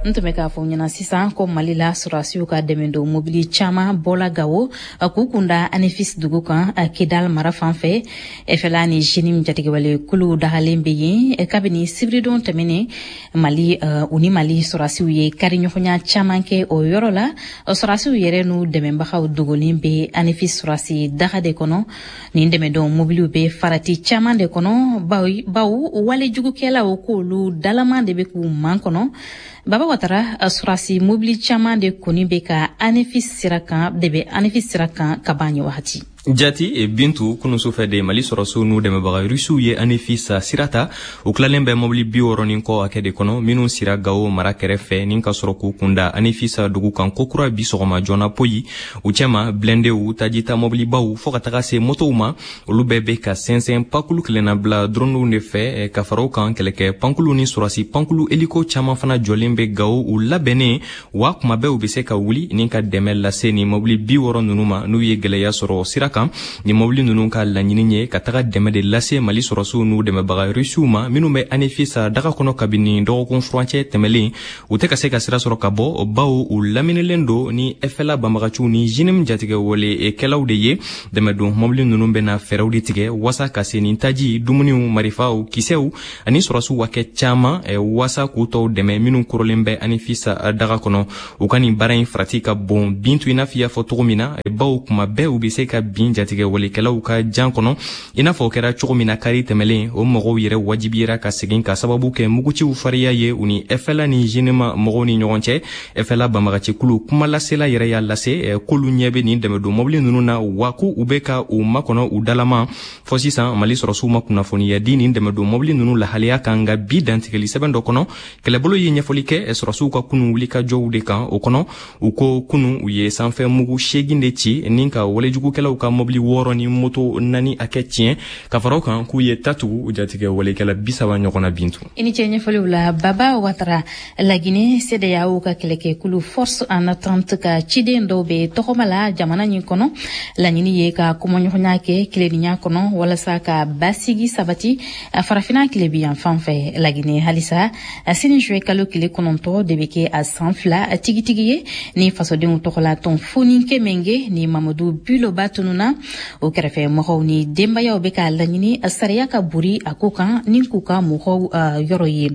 N tun bɛ k'a fɔ ɲɛna sisan ko Mali la, sɔrɔdasiw ka dɛmɛdon mobili caman bɔla Gawo k'u kunda Anefis dugu kan, Kidal mara fan fɛ. F L A ni JNIM jatigɛwale kuluw dagalen bɛ yen kabini sibiridon tɛmɛnen. Mali u ni Mali sɔrɔdasiw ye kariɲɔgɔnya caman kɛ o yɔrɔ la. Sɔrɔdasiw yɛrɛ n'u dɛmɛbagaw dogolen bɛ Anefis sɔrɔdasi daga de kɔnɔ. Nin dɛmɛdon mobiliw bɛ farati caman de kɔnɔ, bawo walejugukɛlaw k'olu dalaman de bɛ k'u man kɔnɔ. Baba Watara, sɔrɔdasi mobili caman de kɔni bɛ ka Anefis sira kan de bɛ Anefis sira kan ka ban nin wagati. Jati Bintu, kunun sufɛ de Mali sɔrɔsiw n'u dɛmɛbaga Rusiw ye Anefis sira ta. U tilalen bɛ mɔbili bi wɔɔrɔ ni kɔ hakɛ de kɔnɔ minnu sira Gawo mara kɛrɛfɛ ni ka sɔrɔ k'u kunda Anefis dugu kan kokura bi sɔgɔma joona poyi. U cɛma, blindéw, tajita mɔbilibaw, fɔɔ ka taga se motow ma, olu bɛɛ bɛ ka sɛnsɛn pakulu kelenna bila dronew de fɛ. Ka fara o kan, kɛlɛkɛ pankulu ni sɔrɔsi pankulu hélico caman fana jɔlen bɛ Gawo, u labɛnnen wa kuma bɛɛ u bɛ se ka wuli ni ka dɛmɛ lase ni mɔbili bi wɔɔrɔ ninnu ma n'u ye gwɛlɛya sɔrɔ sira kan. Ni mɔbili ninnu ka laɲini ye ka taga dɛmɛ de lase Mali sɔrɔsiw n'u dɛmɛbaga Rusiw ma minnu bɛ Anefis daga kɔnɔ kabini dɔgɔkun furancɛ tɛmɛlen. U tɛ ka se ka sira sɔrɔ ka bɔ, bawo u laminilen don ni F L A banbagaciw ni JNIM jatigɛwale kɛlaw de ye. Dɛmɛdon mɔbili ninnu bɛna fɛɛrɛw de tigɛ wasa ka se nin taji, dumuniw, marifaw, kisɛw ani sɔrɔsiw hakɛ caman wasa k'u tɔw dɛmɛ minnu korolen bɛ Anefis daga kɔnɔ. U ka nin baara in farati ka bon, Bintu, i n'a fɔ i y'a fɔ cogo min na, bawo kuma bɛɛ u bɛ se ka bin jatigɛwalekɛlaw ka jan kɔnɔ, i n'a fɔ o kɛra cogo min na kari tɛmɛlen. O mɔgɔw yɛrɛ wajibiyera ka segin ka sababu kɛ muguciw fariya ye u ni F L A ni JNIM mɔgɔw ni ɲɔgɔn cɛ. F L A banbagacikulu kumalasela yɛrɛ y'a lase k'olu ɲɛ bɛ nin dɛmɛdon mɔbili ninnu na, wa ko u bɛ ka u makɔnɔ u dalama. Fɔ sisan, Mali sɔrɔsiw ma kunnafoniya di nin dɛmɛdon mɔbili ninnu lahalaya kan. Nka bi dantigɛli sɛbɛn dɔ kɔnɔ, kɛlɛbolo ye ɲɛfɔli kɛ sɔrɔsiw ka kunu wulikajɔw de kan. O kɔnɔ, u ko kunu u ye sanfɛ mugu seegin de ci ni ka walejugukɛlaw ka mɔbili wɔɔrɔ ni moto naani hakɛ tiɲɛ. Ka fara o kan, k'u ye tatugu jatigɛ walekɛla bi saba ɲɔgɔn na, Bintu. I ni ce ɲɛfɔliw la, Baba Watara. Lagine, CEDEAO ka kɛlɛkɛkulu Force en attente ka ciden dɔw bɛ tɔgɔma la jamana ɲin kɔnɔ. Laɲini ye ka kumaɲɔgɔnya kɛ tilennenya kɔnɔ walasa ka basigi sabati Farafina tilebi yan fan fɛ. Lagine halisa, sini juillet kalo tile kɔnɔntɔ de bɛ kɛ a san fila tigitigi ye ni fasodenw tɔgɔla tɔn Foniké Menguè ni Mamadu Biloba tununa. O kɛrɛfɛ mɔgɔw ni denbayaw bɛ k'a laɲini sariya ka bori a ko kan ni k'u ka mɔgɔw yɔrɔ ye.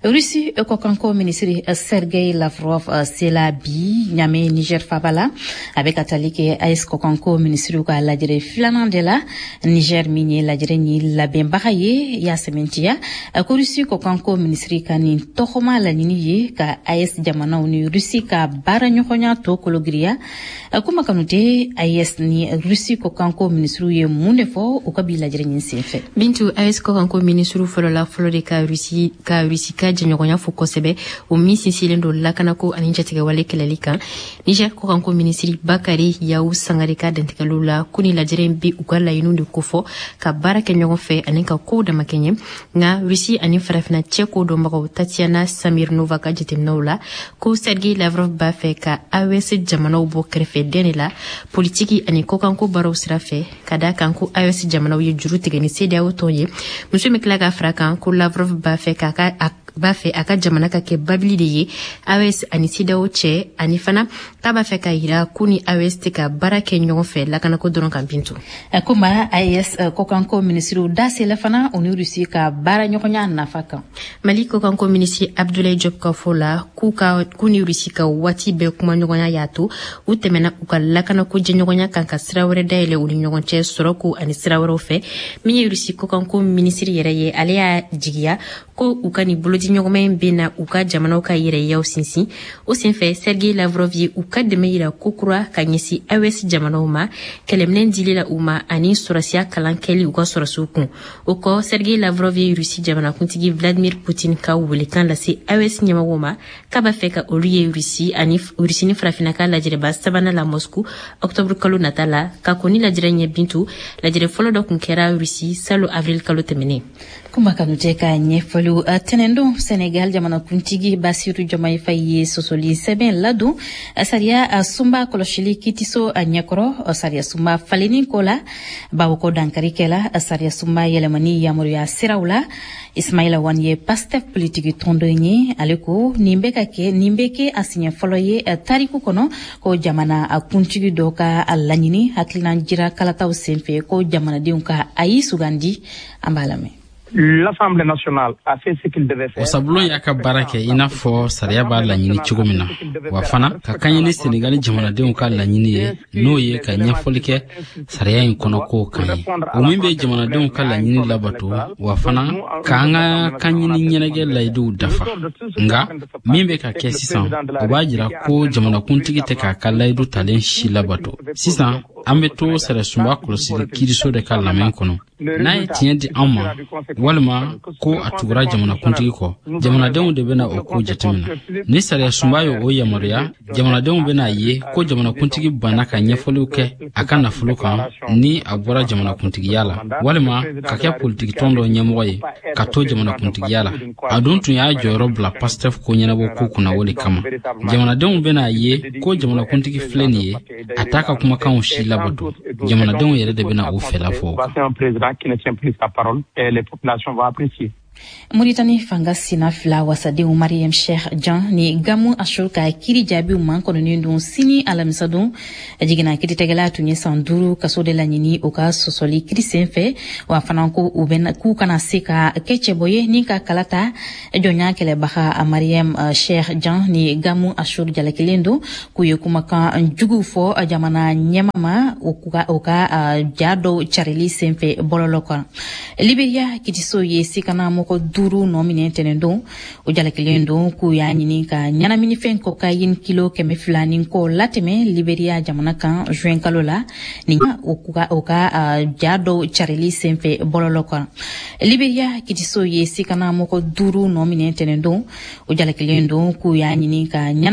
Rusi kɔkanko minisiri Sergei Lavrov sela bi Ɲame, Niger faba la. A bɛ ka tali kɛ A E S kɔkanko minisiriw ka lajɛrɛ filanan de la. Niger min ye lajɛrɛ ni labɛnbaga ye, y'a sɛmɛntiya ko Rusi kɔkanko minisiri ka nin tɔgɔma laɲini ye ka A E S jamanaw ni Rusi ka baara ɲɔgɔnya to kologiriya. Kuma Kanute, A E S ni Rusi kɔkanko minisiriw ye mun de fɔ u ka bi lajɛrɛ ɲin senfɛ? Bintu, A E S kɔkanko minisiriw fɔlɔla fɔlɔ de ka Rusi ka Rusi ka jɛɲɔgɔnya fo kosɛbɛ, o min sinsinlen don lakanako ani jatigɛwale kɛlɛli kan. Niger kɔkanko minisiri Bakari Yawu Sangare ka dantigɛliw la, ko ni lajɛrɛ in bi u ka laɲiniw de kofɔ ka baara kɛ ɲɔgɔn fɛ ani ka kow damakɛɲɛ. Nka Rusi ani Farafina cɛ ko dɔnbagaw Tatiana Samirnova ka jateminɛw la, ko Sergei Lavrov b'a fɛ ka A E S jamanaw bɔ kɛrɛfɛ den de la politiki ani kɔkanko baaraw sira fɛ, ka da kan ko A E S jamanaw ye juru tigɛ ni CEDEAO tɔn ye. Muso min tila ka fara kan ko Lavrov b'a fɛ k'a ka b'a fɛ a ka jamana ka kɛ babili de ye A E S ani CEDEAO cɛ, ani fana k'a b'a fɛ ka yira ko ni A E S tɛ ka baara kɛ ɲɔgɔn fɛ lakanako dɔrɔn kan, Bintu. Komi A E S kɔkanko minisiriw da sela fana u ni Rusi ka baara ɲɔgɔnya nafa kan. Mali kɔkanko minisiri Abdoulaye Diop ka fɔ la, k'u ka k'u ni Rusi ka waati bɛɛ kumaɲɔgɔnya y'a to u tɛmɛna u ka lakanako jɛɲɔgɔnya kan ka sira wɛrɛ dayɛlɛ u ni ɲɔgɔn cɛ sɔrɔko ani sira wɛrɛw fɛ. Min ye Rusi kɔkanko minisiri yɛrɛ ye, ale y'a jigiya ko u ka nin bolodiɲɔgɔnma in bɛ na u ka jamanaw ka yɛrɛyaw sinsin. O senfɛ, Sergei Lavrov ye u ka dɛmɛ yira kokura ka ɲɛsin A E S jamanaw ma, kɛlɛminɛn dili la u ma ani sɔrɔsiya kalan kɛli u ka sɔrɔsiw kun. O kɔ, Sergei Lavrov ye Rusi jamanakuntigi Vladimir Putin ka welekan lase A E S ɲɛmɔgɔw ma k'a b'a fɛ ka olu ye Rusi ani Rusi ni Farafinna ka lajɛrɛba sabanan la Moscou octobre kalo nata la. Ka kɔn ni lajɛrɛ ɲɛ, Bintu, lajɛrɛ fɔlɔ dɔ kun kɛra Rusi salo avril kalo tɛmɛnen. Kuma Kanute ka ɲɛfɔliw. Tɛnɛndon, Senegal jamanakuntigi Basiru Diomaye Faye ye sɔsɔli sɛbɛn ladon sariya sunba kɔlɔsili kitiso ɲɛkɔrɔ, sariya sunba falenni ko la, bawo ko dankari kɛla sariya sunba yɛlɛmani yamaruya siraw la. Ismaila Wan ye Pastef politiki tɔndon ye. Ale ko nin bɛ ka kɛ, nin bɛ kɛ a siɲɛ fɔlɔ ye tariku kɔnɔ ko jamana kuntigi dɔ ka laɲini hakilina jira kalataw senfɛ ko jamanadenw ka ayi sugandi. An b'a lamɛn. L'Assemblée nationale a fait ce qu'il devait faire. Wasabulon y'a ka baara kɛ i n'a fɔ sariya b'a laɲini cogo min na, wa fana ka kaɲɛ ni Senegali jamanadenw ka laɲini ye, n'o ye ka ɲɛfɔli kɛ sariya in kɔnɔ kow kan ye. O min bɛ jamanadenw ka laɲini labato, wa fana k'an ka kanɲini ɲɛnajɛ layiduw dafa. Nka min bɛ ka kɛ sisan, o b'a jira ko jamanakuntigi tɛ k'a ka layidu talen si labato. Sisan an bɛ to sariyasunba kɔlɔsili kiiriso de ka lamɛn kɔnɔ. N'a ye tiɲɛ di an ma walima ko a tugura jamanakuntigi kɔ, jamanadenw de bɛna o ko jateminɛ. Ni sariyasunba ye o yamaruya, jamanadenw bɛna ye ko jamanakuntigi banna ka ɲɛfɔliw kɛ a ka nafolo kan ni a bɔra jamanakuntigiya la, walima ka kɛ politikitɔn dɔ ɲɛmɔgɔ ye ka to jamanakuntigiya la. A dun tun y'a jɔyɔrɔ bila Pastef ko ɲɛnabɔ ko kunna o de kama. Jamanadenw bɛna ye ko jamanakuntigi filɛ nin ye, a t'a ka kumakanw si labato. Jamanadenw yɛrɛ de bɛna o fɛla fɔ o kan. Qui ne tient plus sa parole et les populations vont apprécier. Muritani fanga sina fila wasadenw Mariam Sheikh Jan ni Gamu Ashur ka kiri jaabiw mankɔnɔnen don sini alamisadon. Jiginna kiiritigɛla tun ye san duuru kaso de laɲini o ka sɔsɔli kiri sen fɛ, wa fana ko u bɛ k'u kana se ka kɛ cɛbɔ ye ni ka kala ta. Jɔnya kɛlɛbaga Mariam Sheikh Jan ni Gamu Ashur jalakilen don k'u ye kumakan juguw fɔ jamana ɲɛma ma o ka ja dɔw carili sen fɛ bɔlɔlɔ kan. Liberia kitiso ye sikana mɔgɔ duuru nɔ minɛ tɛnɛndon. O jalakilen don k'u y'a ɲini ka ɲɛnaminifɛn kokayini kilo kɛmɛ fila ni kɔ latɛmɛ Liberia jamana kan juin kalo la ni o ka ja dɔw carili senfɛ bɔlɔlɔ kan. Liberia kitiso ye sikana mɔgɔ duuru nɔ minɛ tɛnɛndon. O jalakilen don k'u y'a ɲini ka ɲɛnaminifɛn